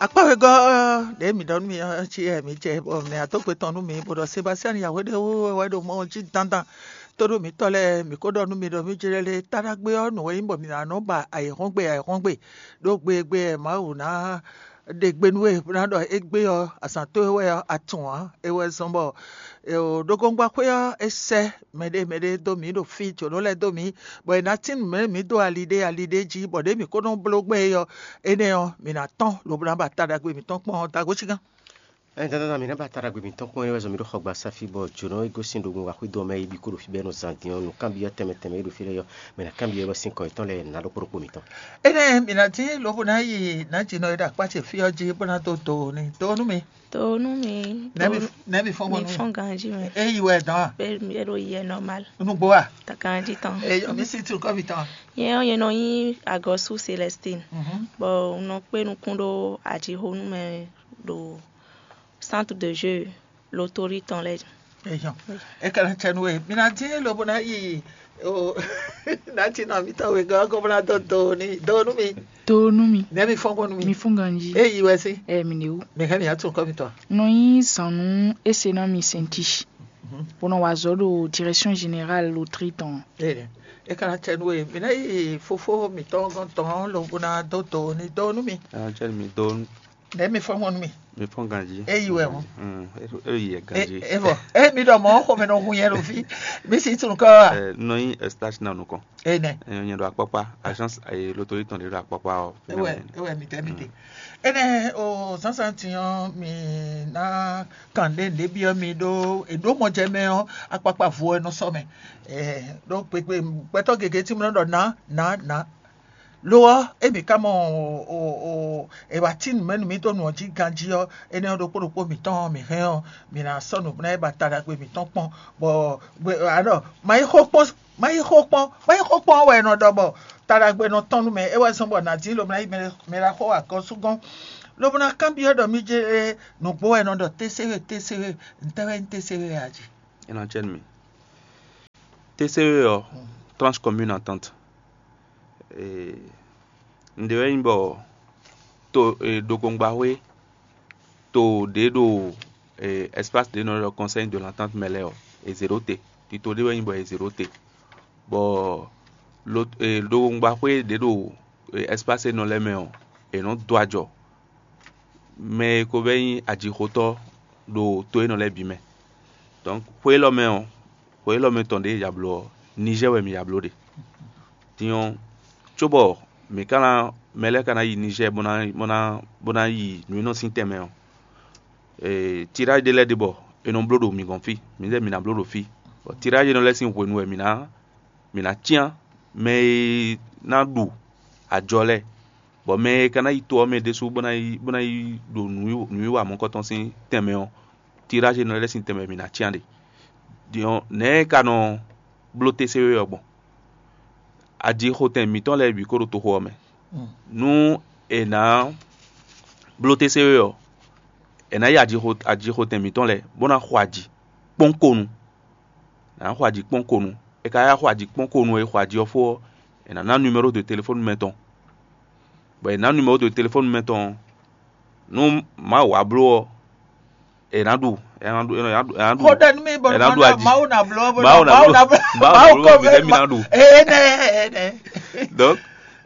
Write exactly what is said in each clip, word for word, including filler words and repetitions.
Akpá wegɔ́ ɖě mǐ ɖɔ nú mi ɔ́ cí wɛ mǐ jɛ, bɔ mǐ wá dó gbe tɔn nú mi, bó ɖɔ Sebastian Yahweh ɖé wú wɛ ɖo mɔ ɔ́ jí dandan. Tóɖó mǐtɔn lɛ́ɛ, mǐ ko ɖɔ nú mi ɖɔ mí jlɛ́ lé táɖágbé ɔ́ nǔ wɛ nyí bɔ mǐ ná nɔ ba ayǐhɔ́ngbe ayǐhɔ́ngbe, ɖó gbe e gbe wɛ Mawu ná ɖe gbe nú we bó ná ɖɔ égbé ɔ́, azǎn towe wɛ ɔ́, a tunwun ǎ. É wɛ zɔ́n bɔ ɖógóngbaxwé ɔ́ é sɛ́ mɛɖé mɛɖé dó mǐ ɖo fí, jǒnɔ lɛ́ɛ dó mǐ, bɔ è nǎ tín nǔ mɛ mǐ dó ali ɖé ali ɖé jí, bɔ ɖěe mǐ ko nɔ bló gbɛn é ɔ́, énɛ́ ɔ́, mǐ ná tɔ́n lobo ná ba ta ɖagbe mǐtɔn kpɔ́n ɔ́ da gosígán. Ɛ dandan mǐ ná ba ta ɖagbe mǐtɔn kpɔ́n é wɛ zɔn mǐ ɖo xɔgba sáfí bɔ jǒnɔ e gosín ɖo gunwun axwé dó ɔ́ mɛ yi bǐ ko ɖo fí bɔ é nɔ zan din ɔ́, nǔkanbyɔ́ tɛnmɛ tɛnmɛ e ɖo fí lɛ́ɛ ɔ́, mɛ ná kanbyɔ́ é bɔ sín kɔ yětɔn lɛ́ɛ ná ɖokpó ɖokpó mǐtɔn. Énɛ́ mǐ ná dín lobo ná yi nǎjínɔ e ɖo akpá ce fí ɔ́ jí bó ná dó do ní dó nú mi. To nú mi. Nɛ́ mi to nɛ́ mi fɔ́n gbɔn mi nú mi. Fɔ́n ganjí mɛ. É yi wɛ dán a? Bɛ bɛ ɖo yɛ normal. Nugbo a? Takanjí tɔn. Eyɔ mi si tu kɔvi tɔn. Yɛ ɔ́ yɛ nɔ nyi agɔsu Célestine. Mhm. Bɔ un nɔ kpé nukún ɖó ajixónú mɛ ɖo centre de jeu lotori tɔn lɛ. Eyɔ. E ka na cɛ nu e. Mi na dín lobo na yi o na ti nɔ mi tɔn we gɔgɔ bó na dɔ do ni do nú mi. To nú mi. Nɛ́ mi fɔ́n gbɔn nú mi. Mi fún ganjí. E yi wɛ sí. Ɛ mi ne wú. Mi hɛn mi atún kɔ mi tɔn. Nɔ nyi zan nú ese ná mi sɛnti. Bó nɔ wa azɔ̌ ɖo direction générale loterie tɔn. Ee, e ka na cɛ nu e mi ná yi fofó mitɔn gɔn tɔn lobo ná dó do ni dó nú mi. Ɛ cɛ mi do Nɛ́ mi fɔ́n mɔ nú mi. Mi fɔ́n ganjí. E yi wɛ mɔ. Mm, e yi yɛ E ganjí. E vɔ. E mi ɖɔ mɔ xɔmɛ nɔ hun yɛ ɖo fí. Mi si tun kɔ wa. Ɛ nɔ nyi estache na nukɔn. Enɛ. Ɛ nyɛ ɖo akpakpa agence ayi lotori tɔn ɖe ɖo akpakpa ɔ. Ewɛ ewɛ mi tɛ mi te. Enɛ o zazan tiɲɔ mi na kan ɖe ɖe biɔ mi ɖo eɖo mɔ jɛ mɛ ɔ akpakpa vo ɛ nɔ sɔ mɛ. Ɛ ɖo gbegbe gbɛtɔ gege ti mu nɔ ɖɔ na na na. Lo ɔ́, emi ka mɔ o o e wá tín nǔ mɛ nú mì dó nǔ ɔ́ jí ganjí ɔ́, énɛ́ ɔ́ ɖokpó ɖokpó mǐtɔn ɔ́, mǐ hɛn ɔ́, mǐ ná sɔ́ nǔ ná yi ba taɖagbe mǐtɔn kpɔ́n, bɔ gbe alɔ ma yi xó kpɔ́n ma yi xó kpɔ́n wɛ è nɔ ɖɔ bɔ taɖagbe nɔ tɔ́n nú mɛ, é wɛ zɔ́n bɔ nǎ dín lobo ná yi mɛ mɛ ɖaxó wɛ agɔ́súgɔ́n, lobo ná kanbyɔ́ ɖɔ mí jɛ nǔgbó wɛ è nɔ ɖɔ tésewé tésewé, ntɛ́ wɛ nyí tésewé wɛ a jí? É ná cɛ nú mì. Tésewé ɔ́, tranche commune entente. Nǔɖé wɛ nyí bɔ to e ɖokɔngbaxwé to ɖě ɖo e espace ɖě nɔ ɖɔ conseil de l'entente mɛ lɛ́ɛ ɔ́, è zě ɖó te. Tito ɖé wɛ nyí bɔ è zě ɖó te, bɔ lo e ɖokɔngbaxwé ɖě ɖo e espace énɔ lɛ́ɛ mɛ ɔ́, è nɔ dó ajɔ mɛ e ko vɛ́ nyí ajixotɔ́ ɖo to énɔ lɛ́ɛ bǐ mɛ. Donc xwe élɔ́ mɛ ɔ́, xwe élɔ́ mɛ tɔn ɖě e ya bló ɔ́, Niger wɛ mǐ ya bló ɖe. Din ɔ́, cóbɔ mǐ ka ná mɛ lɛ́ɛ ka ná yi Niger bó ná bó ná bó ná yi nǔ e nɔ sín tɛnmɛ ɔ́, tirage ɖé lɛ́ɛ ɖe bɔ è nɔ bló ɖo mǐ gɔ́n fí, mǐ lɛ́ɛ mǐ ná bló ɖo fí. Bɔ tirage énɔ lɛ́ɛ sín hwenu wɛ mǐ ná mǐ ná cyán mɛ e ná ɖu ajɔ lɛ́ɛ, bɔ mɛ e ka ná yi to ɔ́ mɛ ɖésú bó ná yi bó ná yi ɖo nǔwiwa mɔ̌kɔtɔn sín tɛnmɛ ɔ́, tirage énɔ lɛ́ɛ sín tɛnmɛ mǐ ná cyán ɖe. Din ɔ́, nɛ̌ e ka nɔ bló tésewé ɔ́ gbɔn? Ajixotɛn mǐtɔn lɛ́ɛ bǐ kó ɖo toxo ɔ́ mɛ. Nú è nǎ bló tésewé ɔ́, è nǎ yi ajixo ajixotɛn mǐtɔn lɛ́ɛ bó ná xɔ aji kpɔ́n ko nu. È nǎ xɔ aji kpɔ́n ko nu. È ka yá xɔ aji kpɔ́n ko nu e xɔ aji ɔ́ fó ɔ́, è nǎ ná numéro de téléphone mɛ tɔn. Bɔ è nǎ numéro de téléphone mɛ tɔn ɔ́, nú Mawu wá bló ɔ́, è nǎ ɖu è nǎ ɖu è nǎ ɖu è nǎ ɖu Xó ɖɔ nú mi bɔ è nǎ ɖu aji. Mawu ná bló bɔ Mawu ná Mawu bló ná bló Mawu Mawu bló kɔ bɔ mɛ mi ma ɖu. Enɛ enɛ. Donc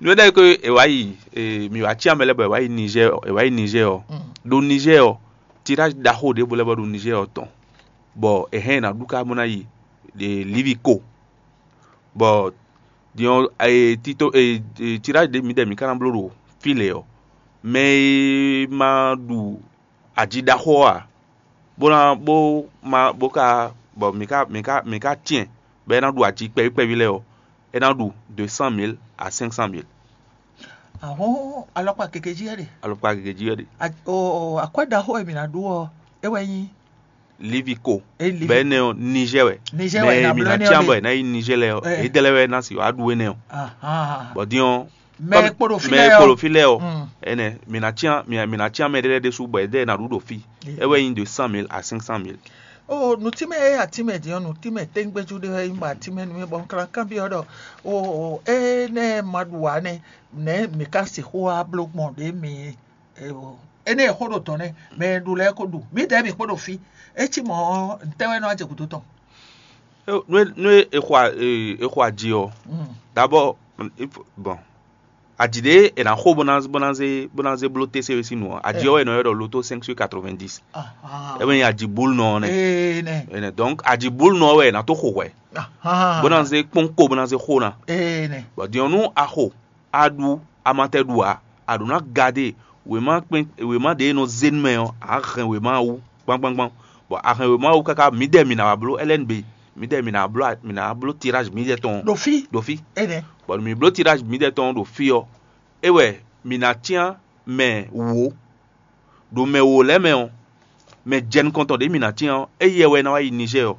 nú é ɖɔ ko è wá yi e, mi wá cyán mɛ lɛ́ɛ bɔ è wá yi Niger è wá yi Niger ɔ́, ɖo Niger ɔ́, tirage ɖaxó ɖěvo lɛ́ɛ bɔ ɖo Niger ɔ́ tɔn, bɔ è hɛn è nǎ ɖu ká bó ná yi e, Liviko, bɔ din ɔ́ e, tito e, e, tirage ɖě mǐdɛɛ mǐ ka ná bló ɖo fí lě ɔ́, mɛ e ma ɖu aji ɖaxó ɔ́ ǎ, bó ná bó ma bó ka bɔ mǐ ka mǐ ka mǐ ka cyɛn bɔ é ná ɖu aji kpɛví kpɛví lɛ́ɛ ɔ́, é ná ɖu de cent mille à cinq cent mille. Ahɔn alɔkpa gege jí wɛ ɖe. Alɔkpa gege jí wɛ ɖe. A- o- o- akwɛ́ ɖaxó e mǐ ná ɖu ɔ́, é wɛ nyí Liviko. Bɛ énɛ́ ɔ́, Niger wɛ. Niger wɛ, mɛ na mi bló na énɛ́ ɔ́ tian ɖe. Bɔ ná yi Niger lɛ ɔ́, Ɛ. Edɛlɛ wɛ ná si wá ɖu énɛ́ ɔ́. Ahán. Bɔ din ɔ́, Mɛ kpɔ́n- kpo ɖo fí mɛ lɛ kpo ɔ́. Ɖo fí lɛ ɔ́, Mm. Ɛnɛ mi na tian mi mi na tian mɛ ɖé lɛ́ɛ ɖésú bɔ edɛ na ɖu ɖo fí. Yeah. É wɛ nyí de cent mille à cinq cent mille. O nutime e atimɛ din ɔ́, nutime tɛngbɛju ɖé wɛ nyí bɔ atimɛ nú mi bɔ un kla kanbyɔ́ ɖɔ o o énɛ́ ma ɖu ǎ nɛ́, nɛ̌ mi ka sixú wá bló gbɔn ɖě mi e o Énɛ́ e xó ɖo dɔ̌n nɛ́, mɛ e ɖu lɛ́ɛ ko ɖu. Mǐdɛɛ mǐ kpo ɖo fí. É cí mɔ̌ ɔ́, ntɛ́ wɛ nɔ wá jɛ gǔdo tɔn? Nú é- nú é- è xɔ a- è- è xɔ aji ɔ́, d'abord, il faut- bon, aji ɖě è nǎ xo bó ná bó ná zé bó ná zé bló tésewesi nu ɔ́, aji ɔ́ wɛ è nɔ ylɔ́ ɖɔ loto cinq sur quatre-vingt-dix. Ahan. É wɛ nyí aji búlunɔ ɔ́ nɛ́. Ee nɛ. Énɛ́, donc aji búlunɔ ɔ́ wɛ è nǎ tó xo hwɛ̌, Ahan. Bó ná zé kpɔ́n ko bó ná zé xo ná. Ee nɛ. Bɔ din ɔ́, nú a xo, a ɖu, a ma tɛ ɖu ǎ, a ɖǒ ná gadé wěma kpɛn wěma ɖě e nɔ zé nú mɛ ɔ́, a hɛn wěma ɔ́ wú gbangbangbán. Bɔ a hɛn wěma ɔ́ wú káká mǐdɛɛ mǐ ná wá bló L N B, mǐdɛɛ mǐ ná bló mǐ ná bló tirázi mǐdɛɛ tɔn ɖo fí. Ɖo fí. Énɛ́. Bɔ nú mǐ bló tirázi mǐdɛɛ tɔn ɖo fí ɔ́, é wɛ mǐ ná cyán mɛ wǒ. Ɖo mɛ wǒ lɛ́ɛ mɛ ɔ́, mɛ jɛ nukɔntɔn ɖě mǐ ná cyán ɔ́, éyɛ́ wɛ ná wá yi Nizɛ́ɛ ɔ́,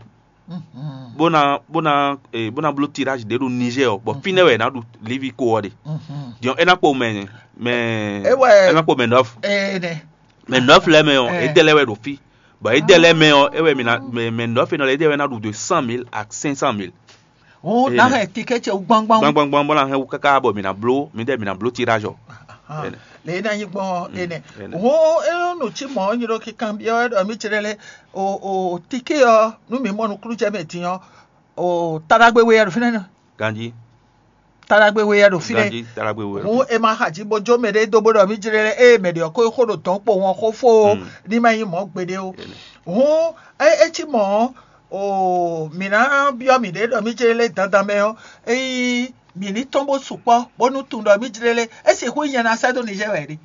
bó ná bó ná eh, bó ná bló tirázi ɖě ɖo Nizɛ́ɛ ɔ́, bɔ fínɛ́ wɛ è nǎ ɖu livi ko ɔ́ ɖe. Din ɔ́, é ná kpo mɛ mɛ É wɛ- é ná kpo mɛ nɔ́f Énɛ́. Mɛ nɔ́f lɛ́ɛ mɛ ɔ́, Eh. édɛ́ lɛ́ɛ wɛ ɖo fí. Bɔ édɛ́ lɛ́ɛ mɛ ɔ́, é wɛ mǐ ná mɛ mɛ nɔ́f énɛ́ lɛ́ɛ édɛ́ wɛ ná ɖu de cent mille à cinq cent mille. Hǔn Énɛ́. Ná hɛn tikɛ́ ce wú gbangban. Gbangbangbangban ná hɛn wú káká bɔ mǐ ná bló mǐdɛɛ mǐ ná bló tirázi ɔ́. Ahan. Énɛ́. Lě e ná nyí gbɔn ɔ́ énɛ́. Énɛ́. Hǔn é nɔ cí mɔ̌ nyí ɖó kíkanbyɔ́ wɛ ɖɔ mí jlɛ́ lé o o tikɛ́ ɔ́ nú mǐ mɔ nukúnnú jɛ mɛ din ɔ́, o taɖagbe we wɛ ɖo fínɛ́ nɔ. Ganjí. Taɖagbe we wɛ ɖo fínɛ́. Ganjí taɖagbe we wɛ ɖo Hǔn fínɛ́. É ma xa jí bó jó mɛ ɖé dó bó ɖɔ mí jlɛ́ lé ée mɛ ɖě ɔ́ ko xó ɖo dɔ̌n kpowun ɔ́ xó fó ó, ní ma nyí mɔ̌ gbeɖé ó. Hǔn é é cí mɔ̌ ɔ́, o mǐ ná byɔ́ mǐɖée ɖɔ mí jlɛ́ lé dandan mɛ ɔ́, ényí mǐ ní tɔ́n bó sukpɔ́ bónú tunwun ɖɔ mí jlɛ́ lé, é sixú nyí nyɛ ná sɛ́ dó Nizɛ́ɛ wɛ ɖe.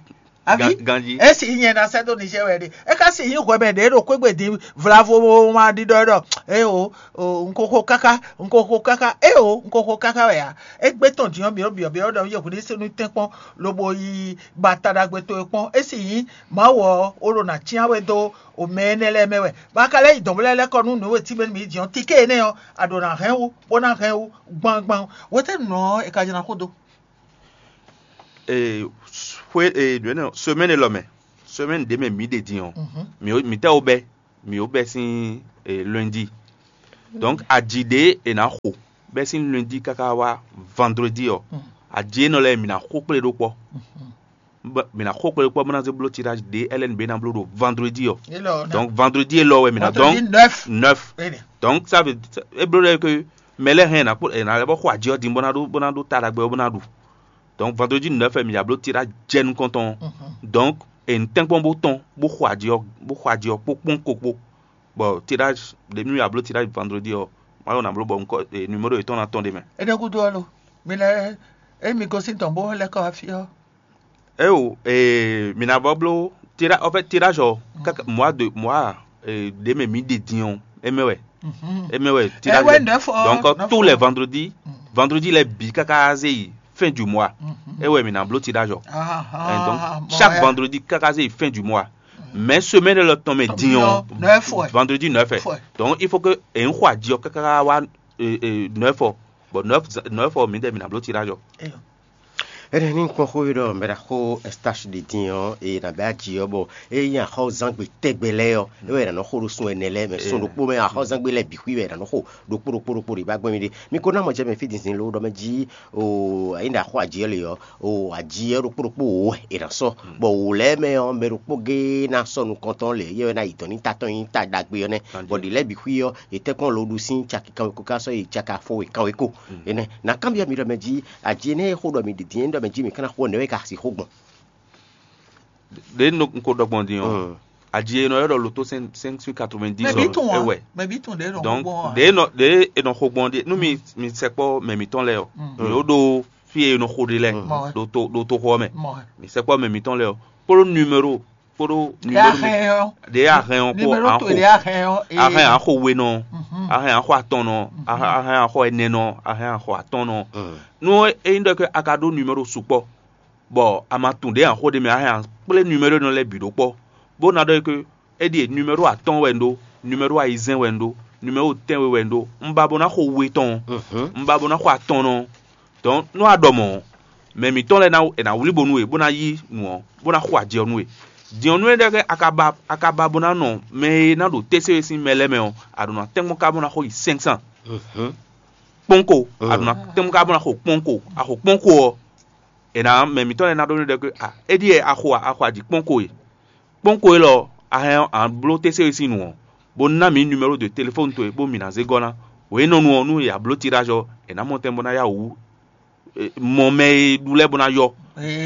Aví? Gan- ganjí. É si nyɛ ná sɛ́ dó Nizɛ́ɛ wɛ ɖe. É ka si nyí hwɛ mɛ ɖě ɖo xwé gbe din vla vo ma ɖiɖɔ ɖɔ é o, o, un ko xo káká, un ko xo káká, é o, un ko xo káká wɛ ǎ. É gbé tɔn din ɔ́, mǐ ɖo byɔ̌byɔ́ ɖɔ yě hwlí sí nú tɛ́nkpɔ́n, lobo yi ba ta ɖagbe towe kpɔ́n. É si nyí Mawu ɔ́, ó ɖo nǎ cyán we dó o mɛ énɛ́ lɛ́ɛ mɛ wɛ. Bɔ a ka lɛ́ yi dɔ̌n bó lɛ́ lɛ́ kɔ nú nǔ e tímɛ nú mǐ din ɔ́, tikée énɛ́ ɔ́, a ɖǒ ná hɛn wú, bó ná hɛn wú gbangban. Hwetɛ́nu ɔ́, è ka jɛ ná xo dó? Ee, xwé ee ɖǒ énɛ́ semaine élɔ́ mɛ, semaine ɖě mɛ mǐ ɖe din ɔ́, mǐ mǐ tɛ́ wo bɛ́ mǐ wo bɛ́ sín ee, lundi. Donc aji ɖě è nǎ xo bɛ́ sín lundi káká wá vendredi ɔ́, aji énɛ́ lɛ́ɛ mǐ ná xo kplé ɖó kpɔ́. Bɔ mǐ ná xo kplé ɖó kpɔ́ bó ná zé bló tirage ɖě L N B ná bló ɖo vendredi ɔ́. Donc vendredi élɔ́ wɛ mǐ ná donc neuf. Donc ça veut é bló ɖɔ que mɛ lɛ́ɛ hɛn è nǎ kpó è nǎ lɛ́ bɔ xo aji ɔ́ din bó ná ɖó bó ná ɖó ta ɖagbe ɔ́ bó ná ɖu. Donc vendredi neuf wɛ mǐ ya bló tirage jɛ nukɔn tɔn ɔ́. Donc è nǐ tɛ́nkpɔ́n bó tɔn bó xo aji ɔ́ bó xo aji ɔ́ kpó kpɔ́n ko kpó. Bɔ tirage ɖě mì ya bló tirage vendredi ɔ́, Mawu ná bló bɔ numéro yětɔn ná tɔn ɖ'é mɛ. Énɛ́ gúdo ɔ́ lo, mi lɛ́ ényí mi gosín tɔn bó lɛ́ kɔ wá fí ɔ́. Éwo, ee, mǐ ná bɔ bló tira en fait tirage ɔ́ káká mois de mois ee, ɖě mɛ mǐ ɖe din ɔ́, é mɛ wɛ é mɛ wɛ tirage wɛ ɔ́. Donc tous les vendredis vendredi lɛ́ɛ bǐ káká zé yi fin du mois. É wɛ mǐ ná bló tirage ɔ́. Donc chaque vendredi káká zé yi fin du mois. Mais semaine lɔ tɔn mɛ din ɔ́, vendredi neuf wɛ. Donc il faut que èyí xɔ aji ɔ́ káká wá neuf ɔ, bon neuf ɔ mǐdɛɛ mǐ ná bló tirage ɔ́. Énɛ́ ní kpɔ́n xó ɖɔ mɛ ɖaxó Estache ɖe din ɔ́, e nǎ bɛ aji ɔ́ bɔ é nyí axɔ́zangbe tɛgbɛ lɛ́ɛ ɔ́, é wɛ è nǎ nɔ xo ɖo sun ɛnɛ lɛ́ɛ mɛ. Sun ɖokpó mɛ axɔ́zangbe lɛ́ɛ bǐ xwí wɛ è nǎ nɔ xo ɖokpó ɖokpó ɖokpó ɖě bá gbɛn mì ɖe. Mi ko ná mɔ jɛ mɛ fí dǐndín ló ɖɔ mɛ jí o, ényí ɖaxó aji ɔ́ le ɔ́, o aji ɔ́ ɖokpó ɖokpó wǒ wɛ è nǎ sɔ́, bɔ wǒ lɛ́ɛ mɛ ɔ́, mɛ ɖokpó géé ná sɔ́ nukɔntɔn lě, yɛ wɛ ná yi dɔ̌n ní ta tɔn nyí ta ɖagbe ɔ́ nɛ́, bɔ ɖě lɛ́ɛ bǐ xwí ɔ́, è tɛ́nkpɔ́n lo ɖu sín caki kanweko ká sɔ́ yi caki afɔwe kanweko. Énɛ́ ná kanbyɔ́ mi ɖɔ mɛ jí aji énɛ́ e xó ɖɔ mi ɖi din é ɖɔ mɛ jí mi ka ná xo nɛ̌ wɛ ka sixú gbɔn? Ɖě un ko ɖɔ gbɔn din ɔ́, aji e nɔ ylɔ́ ɖɔ loto cinq sur quatre-vingt-dix ɔ́, é wɛ. Donc ɖě nɔ ɖě è nɔ xo gbɔn ɖe nú mi mi sɛkpɔ́ mɛ mǐtɔn lɛ́ɛ ɔ́, mi ó ɖó fí e è nɔ xo ɖe lɛ́ɛ ɖo to ɖo toxo ɔ́ mɛ. Mi sɛkpɔ́ mɛ mǐtɔn lɛ́ɛ ɔ́, kpódó numéro kpódó numéro ɖě a hɛn ɔ́ kpó a xo a hɛn a xo we nɔ, a hɛn a xo atɔn nɔ, a hɛn a xo ɛnɛ nɔ, a hɛn a xo atɔn nɔ. Nú é nyí ɖɔ ke a ka ɖó numéro sukpɔ́, bɔ a ma tunwun ɖě a xo ɖ'é mɛ a hɛn a kplé numéro énɛ́ lɛ́ɛ bǐ ɖó kpɔ́, bó ná ɖɔ é ké é ɖíe numéro atɔ́ɔ́n wɛ un ɖó, numéro ayizɛ́n wɛ un ɖó, numéro tɛ́nwe wɛ un ɖó, un ba bó ná xo we tɔn ɔ́, un ba bó ná xo atɔn nɔ ɔ́. Donc nú a ɖɔ mɔ̌ ɔ́, mɛ mǐtɔn lɛ́ɛ ná è nǎ wlí bo nú we bó ná yí nǔ ɔ́, bó ná xo ajɛ ɔ́ nú we. Din ɔ́, nú énɛ́ ɖɔ a ka ba a ka ba bó ná nɔ mɛ e ná ɖo tésewesi mɛ lɛ́ɛ mɛ ɔ́, a ɖǒ ná tɛ́nkpɔ́n ka bó ná xo yi cinq cents kpɔ́nko, a ɖǒ ná tɛ́nkpɔ́n ka bó ná xo kpɔ́nko, a xo kpɔ́nko ɔ́, è nǎ mɛ mǐtɔn lɛ́ɛ ná ɖɔ nú we ɖɔ ké a é ɖíe a xo a a xo aji kpɔ́nko e. Kpɔ́n ko élɔ́, a hɛn ɔ́, a nǎ bló tɛ́sɛ́we sín nu ɔ́, bó ná mǐ numéro de téléfɔ́nu towe, bó mǐ ná zé gɔ́ ná. Hwenu énɔ́ nu ɔ́, nú è ya bló tiɖáj ɔ́, è nǎ mɔ tɛn bó ná yá wǔ mɔ mɛ e ɖu lɛ́ɛ bó ná yɔ.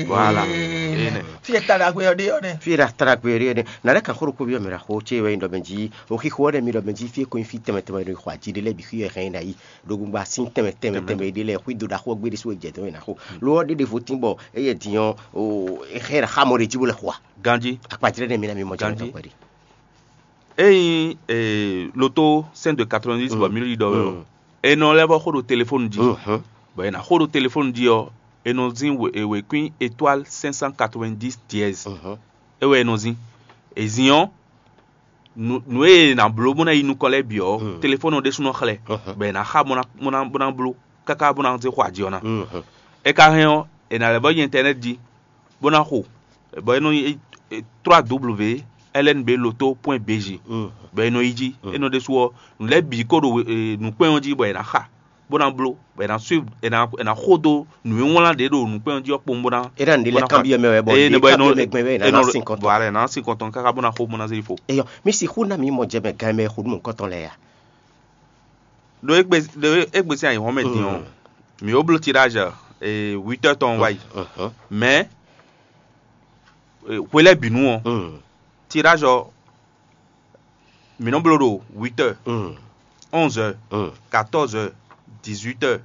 Voilà. Énɛ́. Fí e ta ɖagbe ɔ́ ɖe ɔ́ nɛ́. Fí e ɖa ta ɖagbe ɔ́ ɖe ɔ́ nɛ́. Nǎ lɛ́ kan xó ɖokpó byɔ́ mǐ ɖo axó ce wɛ nyí ɖɔ mɛ jí, o xixo ɔ́ ɖɛ mi ɖɔ mɛ jí, fí e ko nyí fí tɛnmɛ tɛnmɛ ɖo xɔ ají ɖé lɛ́ɛ bǐ xwí wɛ hɛn ná yi. Ɖo gbogbo asín tɛnmɛ tɛnmɛ tɛnmɛ ɖé lɛ́ɛ xwí do ɖaxó ɔ́ gbé ɖésú wɛ jɛ dɔn wɛ ná xo. Lo ɔ́ ɖé ɖěvo tín bɔ é yɛ din ɔ́, o é hɛn ná xá mɔ ɖé jí bó lɛ́ xo a? Ganjí. Akpajlɛ́ nɛ́ mi ná mi mɔ jɛ Ganjí. Mɛ tɔn kpɛɖé. Ényí eh, loto cent de quatre-vingt-dix bɔ mí ɖɔ wɛ ɔ́, è nɔ lɛ́ vɔ xó ɖo telefóni jí. Bɔ è nǎ xó ɖo telefóni jí ɔ́, è nɔ zín wěkwín étoile cinq cent quatre-vingt-dix dièse. É wɛ è nɔ zín. È zín ɔ́, nǔ e è nǎ bló bó ná yi nukɔn lɛ́ɛ bǐ ɔ́, telefóni ɔ́ ɖésú nɔ xlɛ́, bɔ è nǎ xa bó ná bó ná bló káká bó ná zé xɔ ajǐ ɔ́ ná. É ka hɛn ɔ́, è nǎ lɛ́ vɔ yi ɛntɛnɛ́ti jí bó ná xo, bɔ é nɔ nyí trois w ln b loto point b j, bɔ è nɔ yi jí. É nɔ ɖésú ɔ́, nǔ lɛ́ɛ bǐ ko ɖo nǔkpɛ́n ɔ́ jí bɔ è nǎ xa, bó ná bló, bɔ è nǎ suivre, è nǎ è nǎ xo dó nǔ e wlán ɖě ɖo nǔkpɛ́n ɔ́ jí ɔ́ kpowun bó ná. É ná nǔ ɖé lɛ́ɛ kanbyɔ́ mɛ wɛ bɔ eye nǔ bɔ é nɔ kanbyɔ́ mɛ gbɛn wɛ é nɔ nɔ sin kɔntɔn. Voilà, è nǎ sin kɔntɔn káká bó ná xo bó ná zé yi fo. Eyɔ, mi sixú ná mi mɔ jɛ mɛ gan mɛ xo nú mɔ̌hunkɔtɔn lɛ́ɛ a? Ɖo égbé ɖo égbé sín ayǐhɔ́n mɛ din ɔ́, mǐ ó bló tiɖáj huit heures tɔn wá yi. Mɛ hwe lɛ́ɛ bǐ nu ɔ́, tiɖáj ɔ́ mǐ nɔ bló ɖo huit heures, onze heures, quatorze heures, dix-huit heures,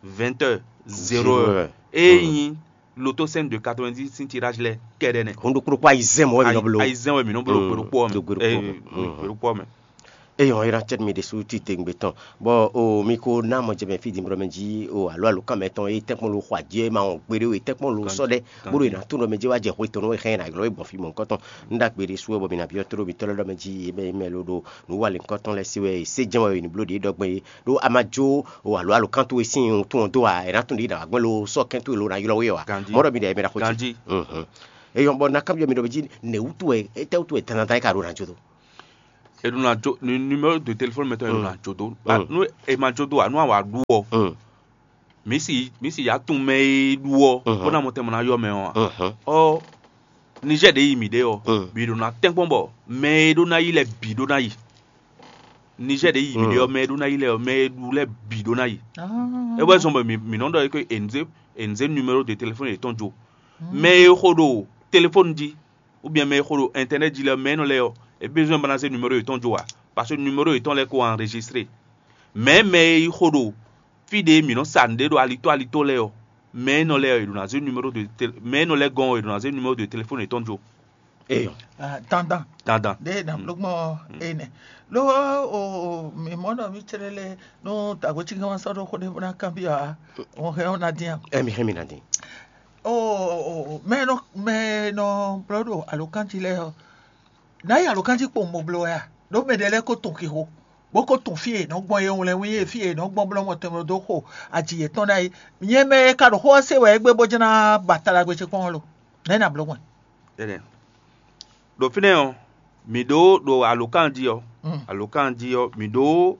vingt heures, zéro heures. Ée nyí loto cinq de quatre-vingt-dix sín tiɖáj lɛ́ɛ kɛ́ɖɛ́ nɛ́. Hun ɖokpó ɖokpó ayizɛ́n mɔ̌ wɛ mǐ nɔ bló. Ayizɛ́n wɛ mǐ nɔ bló gbe ɖokpó ɔ́ mɛ. Gbe ɖokpó ɔ́ mɛ. Eyɔn, é ná cɛ́ mì ɖésú titewungbe tɔn, bɔ o mi ko ná mɔ jɛ mɛ fí din blɔ mɛ jí o alo alo kan mɛ tɔn e tɛ́nkpɔ́n lo xɔ ajé ma wɔn gbeɖé o e tɛ́nkpɔ́n lo sɔ́ ɖɛ bó ɖo e ná tún ɖɔ mɛ jɛ wá jɛ hwe tɔn nɔ xɛ ná glɔ́ e gbɔn fí mɔ̌hunkɔtɔn. Un ɖó agbe ɖésú wɛ bɔ mi ná byɔ́ tló mitɔ́ lɛ́ɛ ɖɔ mɛ jí e mɛ e mɛ lo ɖo nǔ wa lěhunkɔtɔn lɛ́ɛ se wɛ e sé jɛ́n wɛ e ní bló ɖě ɖɔ gbɛn é ɖó a ma jó o alo alo kan towe sín wuntun ɔ́ dó a è ná tún ɖě ɖo agbɛ́n lo sɔ́ kɛn towe lo ná ylɔ́ we ɔ a? Mɔ̌ ɖɔ mi ɖe mɛ ɖaxó ce. Eyɔn bɔ ná kanbyɔ́ mi ɖɔ mɛ jí nɛ̌ wútu wɛ étɛ́ wútu wɛ dandan é ka ɖo ná jó dó? È ɖo ná jó numéro de téléphone mɛtɔn è ɖo ná jó dó. Nú è ma jó dó ǎ, nú a wǎ ɖu ɔ́, mǐ si mǐ si yǎ tunwun mɛ e ɖu ɔ́ bó ná mɔ tɛn mɔ ná yɔ mɛ ɔ́ ǎ. Ɔ́, Niger ɖě yi mǐ ɖe ɔ́, bǐ ɖo ná tɛ́nkpɔ́n bɔ mɛ e ɖó ná yi lɛ́ɛ bǐ ɖó ná yi. Niger ɖě yi mǐ ɖe ɔ́, mɛ e ɖó ná yi lɛ́ɛ ɔ́, mɛ e ɖu lɛ́ɛ bǐ ɖó ná yi. É wɛ zɔn bɔ mǐ mǐ nɔ ɖɔ é ké è nǔ zé è nǔ zé numéro de téléphone yětɔn jó. Mɛ e xo ɖo téléphone jí ou bien mɛ e xo ɖo internet jí lɛ́ɛ, mɛ énɔ́ lɛ́ɛ ɔ́, é besoin bó ná zé numéro yětɔn jó ǎ, parce que numéro yětɔn lɛ́ɛ ko enregistré. Mɛ mɛ e yi xo ɖo fí ɖě mǐ nɔ sa nǔɖé ɖo alitó alitó lɛ́ɛ ɔ́, mɛ énɔ́ lɛ́ɛ ɔ́, è ɖo ná zé numéro de tél- mɛ énɔ́ lɛ́ɛ gɔ́n ɔ́, è ɖo ná zé numéro de téléphone yětɔn jó. Eyɔ. Dandan. Dandan. Ɖe na bló gbɔn ene. Lo o mi mɔ nɔ mi tsere le no tago tsi gama sɔ ɖo xo ɖe bó ná kanbyɔ a. Wọn hɛn wọn na dín a. Ɛ mi hɛn mi na dín. O o mɛ nɔ mɛ nɔ blɔ ɖo alokan jí lɛ ɔ. Na yi alokan jí kpowun mo bló ya. Ɖo mɛ ɖe lɛ ko tun xixo. Bó ko tun fí e nɔ gbɔn ye wlɛn wí ye fí e nɔ gbɔn blɔ mɔ tɛn dó xo. Aji yětɔn ná yi. Nyɛ mɛ e ka ɖo xó ɔ́ se wɛ égbé bó jɛ́n ná ba ta ɖagbe ce kpɔn lo. Nɛ̌ na bló gbɔn? Énɛ́. Ɖo fínɛ́ ɔ́, mǐ ɖó ɖo alǒkan jí ɔ́, alǒkan jí ɔ́, mǐ ɖó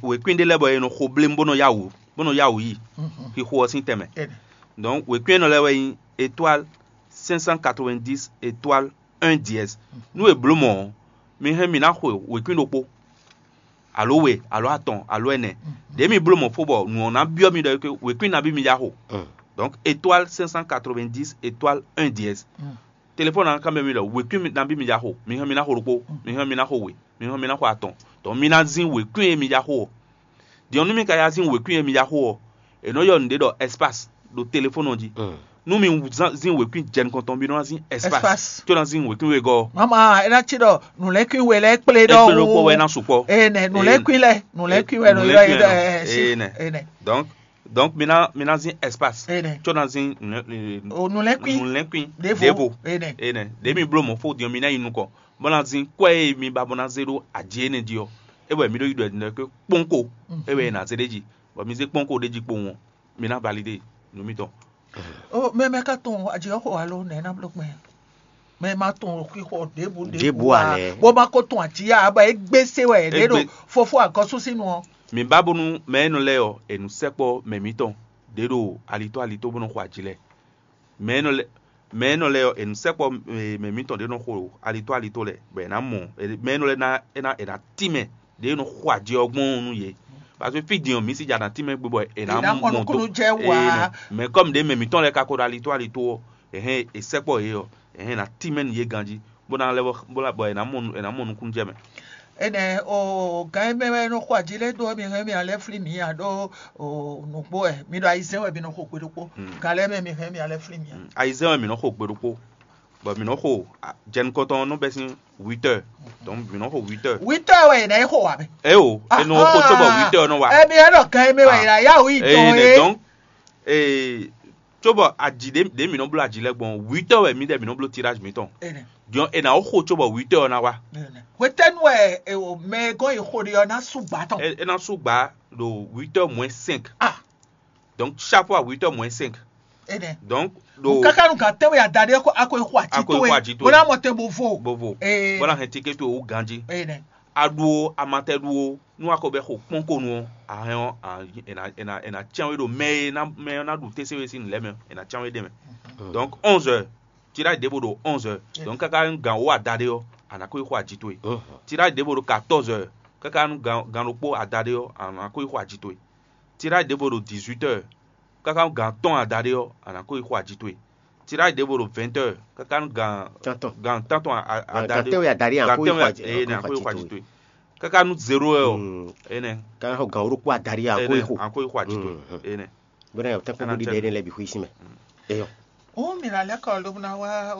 wěkwín ɖé lɛ́ɛ bɔ è nɔ xo blémú bó nɔ yá wǔ bó nɔ yá wǔ yi xixo ɔ́ sín tɛnmɛ. Donc wěkwín énɔ́ lɛ́ɛ wɛ nyí étoile cinq cent quatre-vingt-dix étoile un dièse. Nú è blǒ mɔ̌ ɔ́, mi hɛn mi ná xwe wěkwín ɖokpó, alo we, alo atɔn, alo ɛnɛ. Ɖě mi bló mɔ̌ fó bɔ nǔ ɔ́ ná byɔ́ mi ɖɔ wěkwín nabí mi yá xo. Donc étoile cinq cent quatre-vingt-dix étoile un dièse. Telefɔni ná kanbyɔ́ mi ɖɔ wěkwín nabí mi yá xo. Mi hɛn mi ná xo ɖokpó, mi hɛn mi ná xo we, mi hɛn mi ná xo atɔn. Donc mi ná zín wěkwín e mi yá xo ɔ́. Din ɔ́, nú mi ka yá zín wěkwín e mi yá xo ɔ́, è nɔ ylɔ́ nǔɖé ɖɔ espace ɖo telefɔni ɔ́ jí. Nú mi zán- zín wěkwín jɛ nukɔn tɔn, mi nɔ ná zín espace. Espace. Có ná zín wěkwín wegɔ́ ɔ́. Mama, é ná cí ɖɔ nǔlɛ́kwín we lɛ́ɛ kplé ɖɔhun. Kplé ɖokpó wɛ é ná sukpɔ́. Ene nǔlɛ́kwín lɛ nǔlɛ́kwín wɛ nɔ ylɔ́ yé ɖɔ ɛ si. Ene. Donc donc mi ná mi ná zín espace. Ene. Có ná zín nǔlɛ́kwín. O nǔlɛ́kwín. Nǔlɛ́kwín. Ɖěvo. Ɖěvo. Ene. Ene. Ɖě mi bló mɔ̌ fó din ɔ́, mi ná yi nukɔn bó ná zín kwɛ́ e mi ba bó ná zé ɖó aji énɛ́ jí ɔ́, é wɛ mi ɖó yi ɖɔ ɛ kpɔ́nko. É wɛ è nǎ zé ɖ'é jí, bɔ mi zé kpɔ́nko ɖ'é jí kpowun ɔ́, mi ná validé nǔ mitɔn. O mɛ mɛ ka tɔn aji ɔ́ xo alo nɛ̌ ná bló gbɛn? Mɛ ma tɔn xixɔ ɖěbǔ Ɖěbǔ ɖěbǔ ǎ a lɛ́. Bó ma ko tɔn aji ya aba é gbé se wɛ é ɖo Égbé- fofo agɔsúsínu ɔ́. Mi ba bónú mɛ énɔ lɛ́ɛ ɔ́, è nǔ sɛkpɔ́ mɛ mǐtɔn ɖě ɖo alitó alitó bó nɔ xo aji lɛ́ɛ. Mɛ énɔ lɛ́ɛ Mɛ énɔ lɛ́ɛ ɔ́, è nǔ sɛkpɔ́ mɛ mǐtɔn ɖě nɔ xo alitó alitó lɛ́ɛ, bɔ è nǎ mɔ mɛ énɔ lɛ́ɛ ná é ná è nǎ tín mɛ ɖě nɔ xo aji ɔ́ gbɔn ɔ́ nú yě. Parce que fí din ɔ́, mǐ si ja ná tín mɛ gbé bɔ è nǎ mɔ dó. Mɛ kɔ́m ɖě mɛ mǐtɔn lɛ́ɛ ka ko ɖo alitó alitó ɔ́, è hɛn è sɛkpɔ́ yě ɔ́, è hɛn è nǎ tín mɛ nú yě ganjí, bó ná lɛ́ bɔ è nǎ mɔ è nǎ mɔ nukúnnú jɛ mɛ. Enɛ o gǎn e mɛ wɛ nɔ xo aji lɛ́ɛ dó ɔ́, mi hɛn mi alɛ flí mi a ɖó o nǔgbó wɛ mi ɖo ayizɛ́n wɛ mi nɔ xo gbe ɖokpó. Gǎn lɛ́ɛ mɛ mi hɛn mi alɛ flí mi a. Ayizɛ́n wɛ mǐ nɔ xo gbe ɖokpó, bɔ mǐ nɔ xo jɛnukɔntɔn ɔ́ nɔ bɛ́ sín huit heures. Donc mǐ nɔ xo huit heures. Huit heures wɛ è nǎ yi xo wǎ mɛ. É o, è nɔ xo cóbɔ huit heures nɔ wá. Emi ɛ ɖɔ gǎn e mɛ wɛ è nǎ yá wǔ yi dɔn é. Donc ee, cóbɔ aji ɖě ɖě mǐ nɔ bló aji lɛ́ɛ gbɔn, huit heures wɛ mǐdɛɛ mǐ nɔ bló tirage mǐtɔn. Din ɔ́, è nǎ xo cóbɔ huit heures ɔ́ ná wá. Hwetɛ́nu wɛ mɛ e gɔ́n yi xo ɖe ɔ́ ná sú gbǎ tɔn? É ná sú gbǎ ɖo huit heures moins cinq. Donc chaque fois huit heures moins cinq. Donc ɖo káká nu gǎn tɛ́nwe adaɖé a ko yi xo aji towe bó ná mɔ tɛn bó vo. Bó vo bó ná hɛn tikétu wú ganjí. A ɖu ó, a ma tɛ ɖu ó, nú a ko bɛ xo kpɔ́n ko nu ɔ́, a hɛn ɔ́, è nǎ cyán we ɖo mɛ e mɛ ɔ́ ná ɖu tɛ́nse we sín nǔ lɛ́ɛ mɛ, è nǎ cyán we ɖ'é mɛ. Donc onze heures, tirage ɖěvo ɖo onze heures. Donc káká gan wǒ adaɖé ɔ́, a nǎ ko yi xo aji towe. Tirage ɖěvo ɖo quatorze heures, káká gan ɖokpó adaɖé ɔ́, a nǎ ko yi xo aji towe. Tirage ɖěvo ɖo dix-huit heures, káká gan atɔ́ɔ́n adaɖé ɔ́, a nǎ ko yi xo aji towe. Tirage ɖěvo ɖo vingt heures, káká gan gan tántɔn adaɖé gan tɛ́nwe adaɖé a ko yi xo aji towe. Káká nú zéro heures ɔ́, énɛ́. Káká xɔ gan wóɖokpó adaɖé a ko yi xo. A ko yi xo aji towe. Énɛ́. Bónú tɛ́nkpɔ́n ɖiɖe énɛ́ lɛ́ɛ bǐ xwíí sín mɛ. Eyɔ. Ó mǐ ná lɛ́ kɔ lóbó ná wá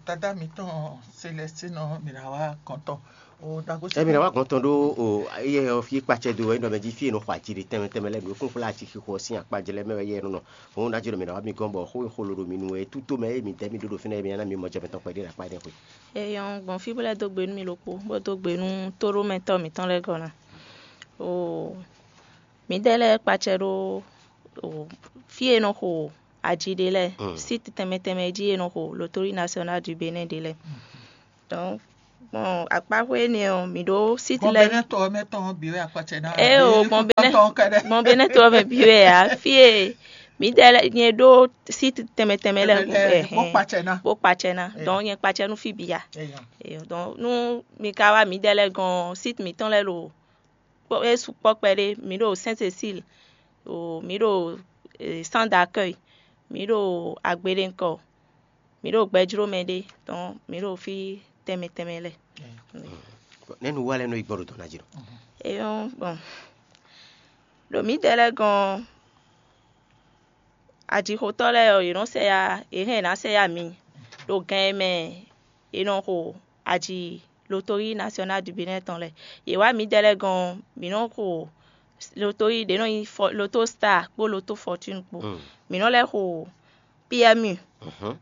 dadá mǐtɔn Celestine ɔ́, mǐ ná wá gɔ̌n tɔn. Ɛ mǐ ná wá gɔ̌n tɔn ɖó o éyɛ ɔ́ fí kpacɛ dó wɛ ɖɔ mɛ jí fí e nɔ xɔ aji ɖe tɛnmɛ tɛnmɛ lɛ́ɛ ɖo kúnxwlá acixixo ɔ́ sín akpá jɛ lɛ́ɛ mɛ wɛ yɛ nɔ nɔ. Hǔn ná jló mǐ ná wá mi gɔ́n bɔ xó e xo lǒ ɖo mi nu wɛ é tútó mɛ e mi dɛ̌ mi ɖó ɖo fínɛ́ e mi ná mi mɔ jɛ mǐtɔn kpɛɖé ɖo akpá énɛ́ xwe. Eyɔn gbɔn fí bó lɛ́ dó gbe nú mì ɖokpó, bó dó gbe nú tóɖómɛtɔ́ mǐtɔn lɛ́ɛ gɔ́ ná. Oo, mǐdɛɛ lɛ́ɛ kpacɛ ɖó fí e nɔ xo aji ɖe lɛ́ɛ, site tɛnmɛ tɛnmɛ jí e nɔ xo Loterie Nationale du Bénin ɖe lɛ́ɛ. Donc gbɔn akpáxwé énɛ́ ɔ́, mǐ ɖó site lɛ́ɛ. Gbɔn Benɛ́to ɔ́ mɛ tɔn ɔ́ bǐ wɛ akpacɛ ná. Ée o, gbɔn Benɛ́to ɔ́ mɛ bǐ wɛ ǎ. Fí e mǐdɛɛ lɛ́ɛ nyɛ ɖó site tɛnmɛ tɛnmɛ lɛ́ɛ bó kpacɛ ná. Bó kpacɛ ná. Donc nyɛ kpacɛ nú fí bǐ ǎ. Donc nú mi ka wá mǐdɛɛ lɛ́ɛ gɔ́n site mǐtɔn lɛ́ɛ ɖo é sukpɔ́ kpɛɖé. Mǐ ɖo Sainte Cécile, mǐ ɖo centre d'accueil, mǐ ɖo Agbeɖenkɔ, mǐ ɖo Gbɛjlómɛɖé, donc mǐ ɖo fí tɛnmɛ tɛnmɛ lɛ́ɛ. Nɛ̌ nǔ wa lɛ́ɛ nɔ yi gbɔn ɖo dɔ̌n ná jí nɔ? É nyɔ́ gbɔn. Ɖo mǐdɛɛ lɛ́ɛ gɔ́n ɔ́, ajixotɔ́ lɛ́ɛ ɔ́, yě nɔ sɛ yá, yě hɛn yě ná sɛ yá mi ɖo gan e mɛ è nɔ xo aji Loterie Nationale du Bénin tɔn lɛ́ɛ. Yě wá mǐdɛɛ lɛ́ɛ gɔ́n ɔ́, mǐ nɔ xo loterie ɖě nɔ nyí Loto Star kpó Loto Fortune kpó. Mǐ nɔ lɛ́ xo P M U.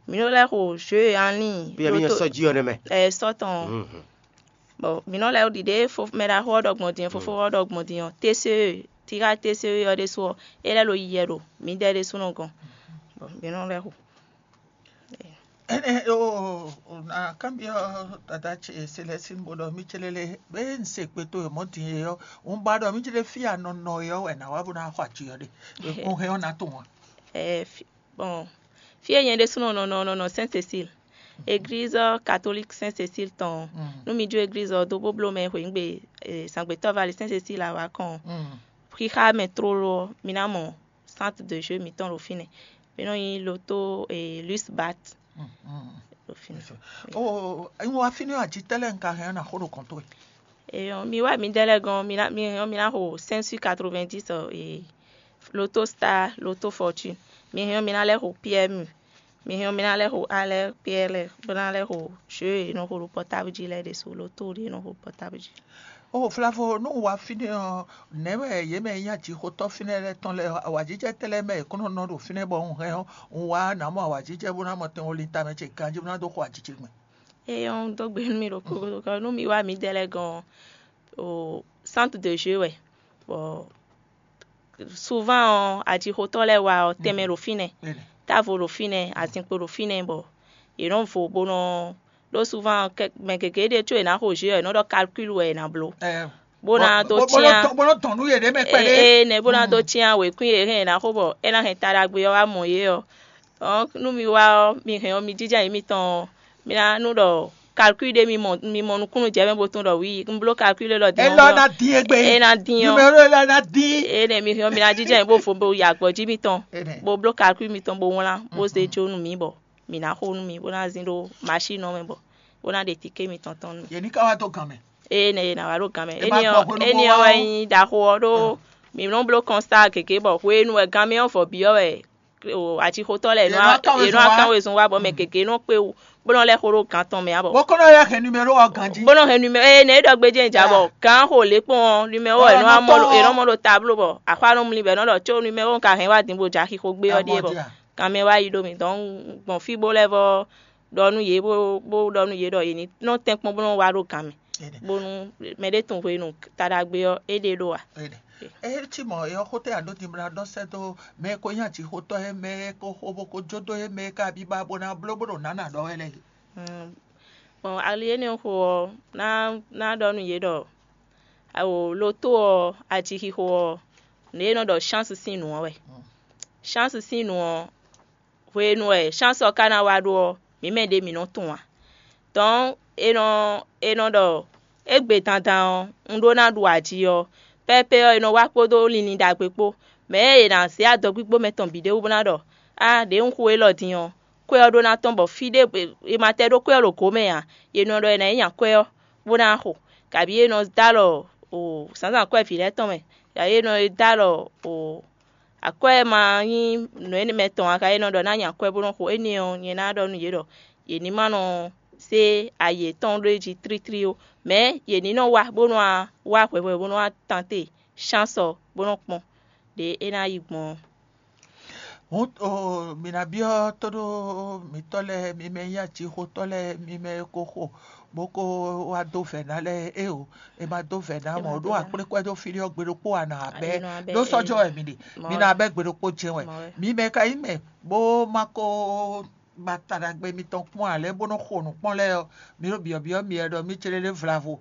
Mǐ nɔ lɛ́ xo jeu en ligne. P M U sɔ́ jí ɔ́ nɛ́ mɛ. Ɛ sɔ́ tɔn. Bon, mǐ nɔ lɛ́ ɖiɖe mɛ ɖaxó ɔ́ ɖɔ gbɔn din, fofó ɔ́ ɖɔ gbɔn din ɔ́, T C E, tirage T C E ɔ́ ɖésú ɔ́, é lɛ́ lo yi yɛ ɖo mǐdɛɛ ɖésúnɔ gɔ́n. Bon, mǐ nɔ lɛ́ xo. Énɛ́ o, na kanbyɔ́ dada ce Celestine bó ɖɔ mí céɖé lé, bɛ́ un se kpétó e mɔ̌ din e ɔ́, un ba ɖɔ mí céɖé fí a nɔ nɔ e ɔ́ wɛ nǎ wá bó ná xɔ aji ɔ́ ɖe. Un hɛn ɔ́ ná tunwun a? Ɛ, fi- bon, fí e nyɛ ɖésúnɔ nɔ nɔ nɔ nɔ Sainte Cécile, église catholique Sainte Cécile tɔn ɔ́, nú mi jó église ɔ́ dó bó bló mɛ hweyǐgbe zǎngbetɔ́ vali Sainte Cécile awǎ kɔn ɔ́, xixa mɛ tlóló ɔ́, mi ná mɔ centre de jeu mǐtɔn ɖo fínɛ́. Mǐ nɔ nyi loto e Luis Bat. Ɖo fínɛ́. O, un wá fínɛ́ ɔ́, aji tɛ́ lɛ́ɛ un ka hɛn ɔ́ ná xo ɖo kɔn towe? Eyɔn, mi wá mi dɛ́ lɛ́ɛ gɔ́n, mi ná mi hɛn ɔ́, mi ná xo cinq sur quatre-vingt-dix e Loto Star, Loto Fortune. Mi hɛn ɔ́, mi ná lɛ́ xo P M U. Mi hɛn ɔ́, mi ná lɛ́ xo alɛ P L, bó ná lɛ́ xo jeu e nɔ xo ɖo portable jí lɛ́ɛ ɖésú, loto ɖé e nɔ xo ɖo portable jí. O Flavo, nú un wá fínɛ́ ɔ́, nɛ̌ wɛ yě mɛ e nyí ajixotɔ́ fínɛ́ lɛ́ɛ tɔn lɛ́ɛ ɔ́, awǎjijɛ tɛ́ lɛ́ɛ mɛ yě kó nɔ nɔ ɖo fínɛ́ bɔ un hɛn ɔ́, un wá nǎ mɔ awǎjijɛ bó ná mɔ tɛn wo lintamɛ ce ganjí bó ná dó xo ajijɛ gbɛn? Eye ɔ́, un dó gbe nú mi ɖokpó gúdo, nú mi wá mǐdɛɛ lɛ́ɛ gɔ́n ɔ́, o centre de jeu wɛ, bɔ souvent ɔ́, ajixotɔ́ lɛ́ɛ wá ɔ́, tɛnmɛ ɖo fínɛ́, távo ɖo fínɛ́, azinkpo ɖo fínɛ́, bɔ yě nɔ vo bó nɔ ɖó souvent mɛ gěgé ɖe có è nǎ xo jeu ɔ́, è nɔ ɖɔ calcul wɛ è nǎ bló, bó ná dó cyán bó nɔ dɔn nú yě ɖé mɛ kpɛɖé. Ee, nɛ bó ná dó cyán wěkwín e hɛn è nǎ xo bɔ é ná hɛn ta ɖagbe ɔ́ wá mɔ yě ɔ́, Donc nú mi wá ɔ́, mi hɛn ɔ́, mi jínjɔ́n ayǐ mitɔn ɔ́, mi ná nú ɖɔ calcul ɖé mi mɔ mi mɔ nukúnnú jɛ mɛ bó tunwun ɖɔ wi un bló calcul élɔ́ din. Élɔ́ ɔ́, ná dín égbé. É ná dín ɔ́. Numéro élɔ́ ná dín. Énɛ́ mi hɛn ɔ́, mi ná jínjɔ́n ayǐ bó vo bó yi agbɔ̌ jí mitɔn, énɛ́ bó bló calcul mitɔn bó wlán bó zé jó nú mi bɔ mi ná xo nú mi bó ná zin ɖó machine ɔ́ mɛ bɔ bó ná ɖe tiké mitɔn tɔn nú mi. Yě ní ká wá dó gan mɛ. Ée nɛ è nǎ wá ɖo gan mɛ. Énɛ́ ɔ́, énɛ́ ɔ́ wɛ nyí ɖaxó ɔ́ ɖó mǐ nɔ bló kɔnstáa gěgé bɔ hwenu e gan mɛ ɔ́ vɔ bǐ ɔ́ wɛ acixotɔ́ lɛ́ɛ è nɔ wá kán wezun wá bɔ mɛ gěgé nɔ kpé wú bó nɔ lɛ́ xo ɖó gan tɔn mɛ ǎ bɔ. Bó kɔn nɔ lɛ́ hɛn numéro ɔ́ ganjí. Bó nɔ hɛn numéro ée nɛ é ɖɔ gbéjé nya bɔ gan xo lě kpɔn ɔ́, numéro ɔ́ è nɔ wá mɔ è nɔ mɔ ɖo tablo bɔ axwá nɔ mlí bɔ è nɔ ɖɔ có numéro un ka hɛn wá din bó jɛ axixo gbé ɔ́ ɖíe bɔ gan mɛ wá yi ɖó mì dɔn gbɔn fí bó lɛ́ vɔ ɖɔ nú yě bó bó ɖɔ nú yě ɖɔ yě ní nɔ tɛ́nkpɔ́n bó nɔ wá ɖó gan mɛ bónú mɛɖé tunwun hwenu taɖagbe ɔ́ é ɖe ɖó a. Ée cí mɔ̌ é ɔ́, xó tɛ́ a ɖǒ din bó ná ɖɔ sɛ́ dó mɛ e ko nyí acixotɔ́ é, mɛ e ko xo bó ko jó dó é, mɛ e ka biba bó ná bló bó ɖo nǎ ná ɖɔ wɛ lɛ́ɛ? Gbɔn ali énɛ́ xo ɔ́, ná ná ɖɔ nú yě ɖɔ awo loto ɔ́, acixixo ɔ́, nǔ e nɔ ɖɔ chance sín nǔ ɔ́ wɛ. Chance sín nǔ ɔ́, hwenu e chance ɔ́ ka ná wá ɖó ɔ́, mǐ mɛ ɖě mǐ nɔ tunwun ǎ. Dɔ̌n è nɔ è nɔ ɖɔ égbé dandan ɔ́, un ɖó ná ɖu aji ɔ́, pɛ́pɛ́ ɔ́, è nɔ wá kpódó linlin ɖagbe kpó. Mɛ̌ e è nǎ zě adɔgbígbó mɛtɔn bǐ ɖé wú bó ná ɖɔ: “Á, ɖě un xo élɔ́ din ɔ́, kwɛ́ ɔ́ ɖó ná tɔ́n bɔ fí ɖé è ma tɛ́ ɖó kwɛ́ ɔ́ ɖo gǒ mɛ ǎ.” È nɔ ɖɔ è nǎ yi nya kwɛ́ ɔ́, bó ná xo, kabǐ è nɔ dó alɔ zǎnzǎn kwɛ́ vǐ lɛ́ɛ tɔn mɛ, kabǐ è nɔ dó alɔ akwɛ́ e ma nyí nǔ énɛ́ mɛ tɔn ǎ, ka e nɔ ɖɔ ná nya akwɛ́ bó nɔ́ xo énɛ́ ɔ́, nyɛ ná ɖɔ nú yě ɖɔ yě ní ma nɔ zé ayi yětɔn ɖó é jí tlítlí ó, mɛ̌ yě ní nɔ wá bó nɔ́ wá wá hwɛhwɛ bó nɔ́ wá tante chance ɔ́ bó nɔ́ kpɔ́n ɖě é ná yi gbɔn ɔ́. Hǔn mǐ ná byɔ́ tóɖó mǐtɔn lɛ́ɛ, mi mɛ nyí acixotɔ́ lɛ́ɛ, mi mɛ e ko xo bó ko wá dó vɛ̌ ná lɛ́ɛ éeǒ. È ma dó vɛ̌ ná mɔ̌ ɖó akplékwɛ́ dó fí ɖé ɔ́ gbe ɖokpó ǎ nǎ bɛ́. Ɖó sɔ́jɔ́ wɛ mi ɖe, mi ná bɛ́ gbe ɖokpó jɛ́n wɛ. Mi mɛ ka nyí mɛ bó ma ko ba taɖagbe mitɔn kpɔ́n ǎ lɛ́ɛ bó nɔ́ xo nǔ kpɔ́n lɛ́ɛ ɔ́, mi ɖo byɔ̌byɔ́ myɛ ɖɔ mǐ céɖéɖé vlavo.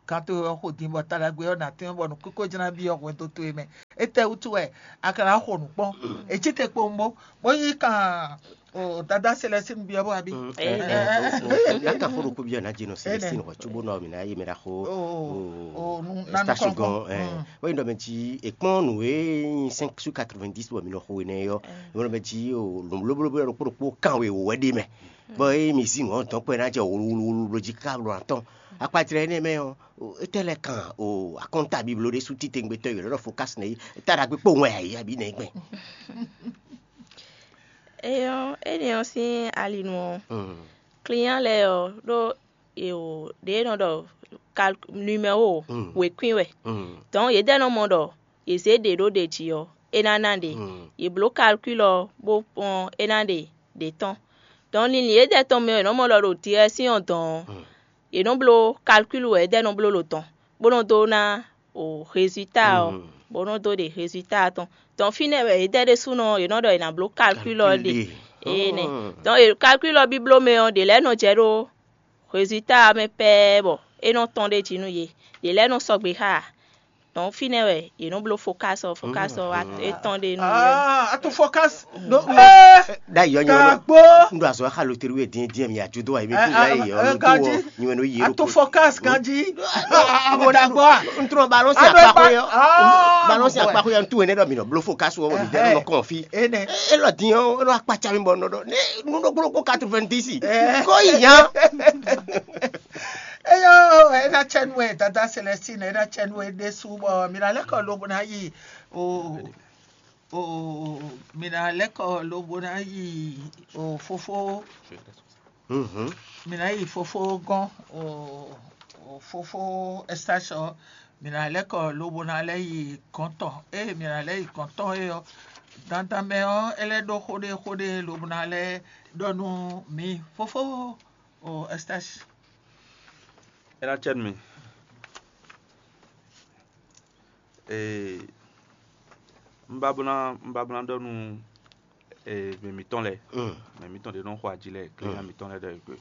Kan towe ɔ́ xo din bɔ taɖagbe ɔ́ nǎ tɛ́n bɔ nǔkínkó jlá byɔ́ hwɛndo towe mɛ. Étɛ́wútu wɛ a ka ná xo nǔ kpɔ́n? È cí te kpowun bó, bó nyí kan o dada Celestine byɔ́ bó abí. Ná kan xó ɖokpó byɔ́ ná jɛ nɔ Celestine hɔ cóbó nɔ mǐ ná yé mɛ ɖaxó. Stashi gɔn wɛ nyí ɖɔ mɛ jí è kpɔ́n nǔ e nyí cinq sur quatre-vingt-dix bɔ mǐ nɔ xo énɛ́ ɔ́, mǐ nɔ mɛ jí o lǒblóbló ɖokpó ɖokpó kan we wǒ wɛ ɖ'é mɛ. Bɔ ée mi zí nǔ ɔ́ dɔ̌nkpɛ ná jɛ wluwluwlu jí káká ɖo atɔ́n. Akpajlɛ́ énɛ́ mɛ ɔ́, étɛ́ lɛ́ kan o akɔ́nta biblo ɖé sú títewungbe tɔn e è nɔ ɖɔ Fokasi nɛ́ é? Étɛ́ ɖagbe kpowun wɛ a yǐ abǐ nɛ̌ gbɛn? Éyɔ́, énɛ́ ɔ́ sín ali nu ɔ́, client lɛ́ɛ ɔ́ ɖó ɖě e nɔ ɖɔ numéro wěkwín wɛ. Donc yě dɛ́ nɔ mɔ ɖɔ yě zé ɖě ɖó ɖě jí ɔ́, é ná ná ɖě. Yě bló calcul ɔ́ bó kpɔ́n é ná ɖe ɖě tɔn. Donc linlin yědɛɛ tɔn mɛ ɔ́, è nɔ́ mɔ ɖɔ ɖo direction ɔ́ dɔn ɔ́, yě nɔ bló calcul wɛ yědɛɛ nɔ bló ɖo dɔn, bó nɔ dó ná o résultat ɔ́, bó nɔ dó ɖe résultat tɔn. Donc fínɛ́ wɛ yědɛɛ ɖésúnɔ yě nɔ ɖɔ yě ná bló calcul ɔ́ ɖe. Énɛ́. Donc calcul ɔ́ bíbló mɛ ɔ́, ɖě lɛ́ɛ nɔ jɛ ɖó résultat ɔ́ mɛ pɛ́ɛ́ bɔ é nɔ tɔ́n ɖ'é jí nú yě. Ɖě lɛ́ɛ nɔ sɔgbe xá ǎ. Donc fínɛ́ wɛ yě nɔ bló Fokasi ɔ́, Fokasi ɔ́ wá é tɔ́n ɖe nú yě. Ah, a to Fokasi. Ɖ'ayǐ ɔ́ nyɔ́ ɖo un ɖo azɔ̌ xa loterí wɛ dín dín mi ajo dó wa yě mi kú ɖ'ayǐ ɔ́ loto ɔ́ nyɔ́ nɔ yí a to Fokasi ganjí. Mo ɖàgbọ́ à. N trɔ balɔn si akpaxɔ yɛ balɔn si akpaxɔ yɛ n tu wɛ ne ɖɔ mi nɔ bló Fokasi wɔ mi dɛ nɔ kɔn fi. Élɔ́ dín ɔ́ é nɔ akpatsa mi bɔ nɔ ɖɔ ne nu ɖokpó ɖokpó quatre-vingt-dix. Ko yi nya. Eyo, ena tsɛnu e dada Celestine, ena tsɛnu e ɖésú bɔ mi ná lɛ́ kɔ lobo ná yi o o mi ná lɛ́ kɔ lobo ná yi o fofo. Mi ná yi fofo gɔ́n o o fofo Estache ɔ́, mi ná lɛ́ kɔ lobo ná lɛ́ yi gɔ̌n tɔn. Ée mi ná lɛ́ yi gɔ̌n tɔn é ɔ́, dandan mɛ ɔ́, é lɛ́ ɖó xó ɖé xó ɖé lobo ná lɛ́ ɖɔ nú mi fofo o Estache. É ná cɛ nú mi. Ee, un ba bó ná un ba bó ná ɖɔ nú ee mɛ mǐtɔn lɛ́ɛ, mɛ mǐtɔn ɖě nɔ xo aji lɛ́ɛ, client mǐtɔn lɛ́ɛ ɖɔ yě gbe.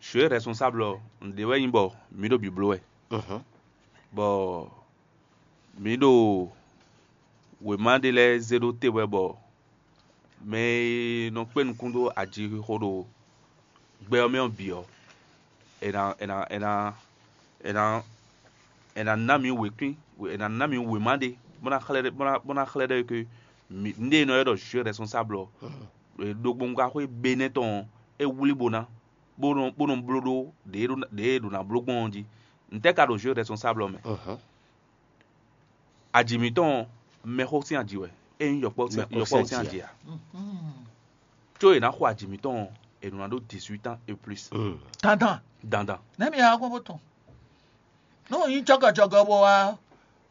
Je suis responsable ɔ́, nǔɖé wɛ nyí bɔ mǐ ɖo bǐbló wɛ, bɔ mǐ ɖo wěma ɖé lɛ́ɛ zé ɖó te wɛ bɔ Mɛ e nɔ kpé nukún dó ajixixo ɖo gbɛ ɔ́ mɛ ɔ́ bǐ ɔ́, è nǎ è nǎ è nǎ è nǎ è nǎ ná mǐ wěkwín, è nǎ ná mǐ wěma ɖé bó ná xlɛ́ ɖɔ bó ná xlɛ́ ɖɔ é ke nǔɖé e nɔ ylɔ́ ɖɔ jeu responsable ɔ́, ɖogbongbáxwé Benɛ́ tɔn ɔ́, é wlí bó ná bó nɔ bó nɔ bló ɖó ɖě e ɖo ná bló gbɔn ɔ́ jí. Ntɛ́ ka ɖo jeu responsable ɔ́ mɛ? Aji mǐtɔn ɔ́, mɛxó sín aji wɛ, é nyí yɔkpɔ́ sín aji ǎ. Có è nǎ xo aji mǐtɔn ɔ́, è nɔ ná ɖó dix-huit ans et plus. Dandan. Dandan. Nɛ̌ mi yá gbɔn bó tɔn? Nú nyí jɔgɔjɔgɔ bó wá.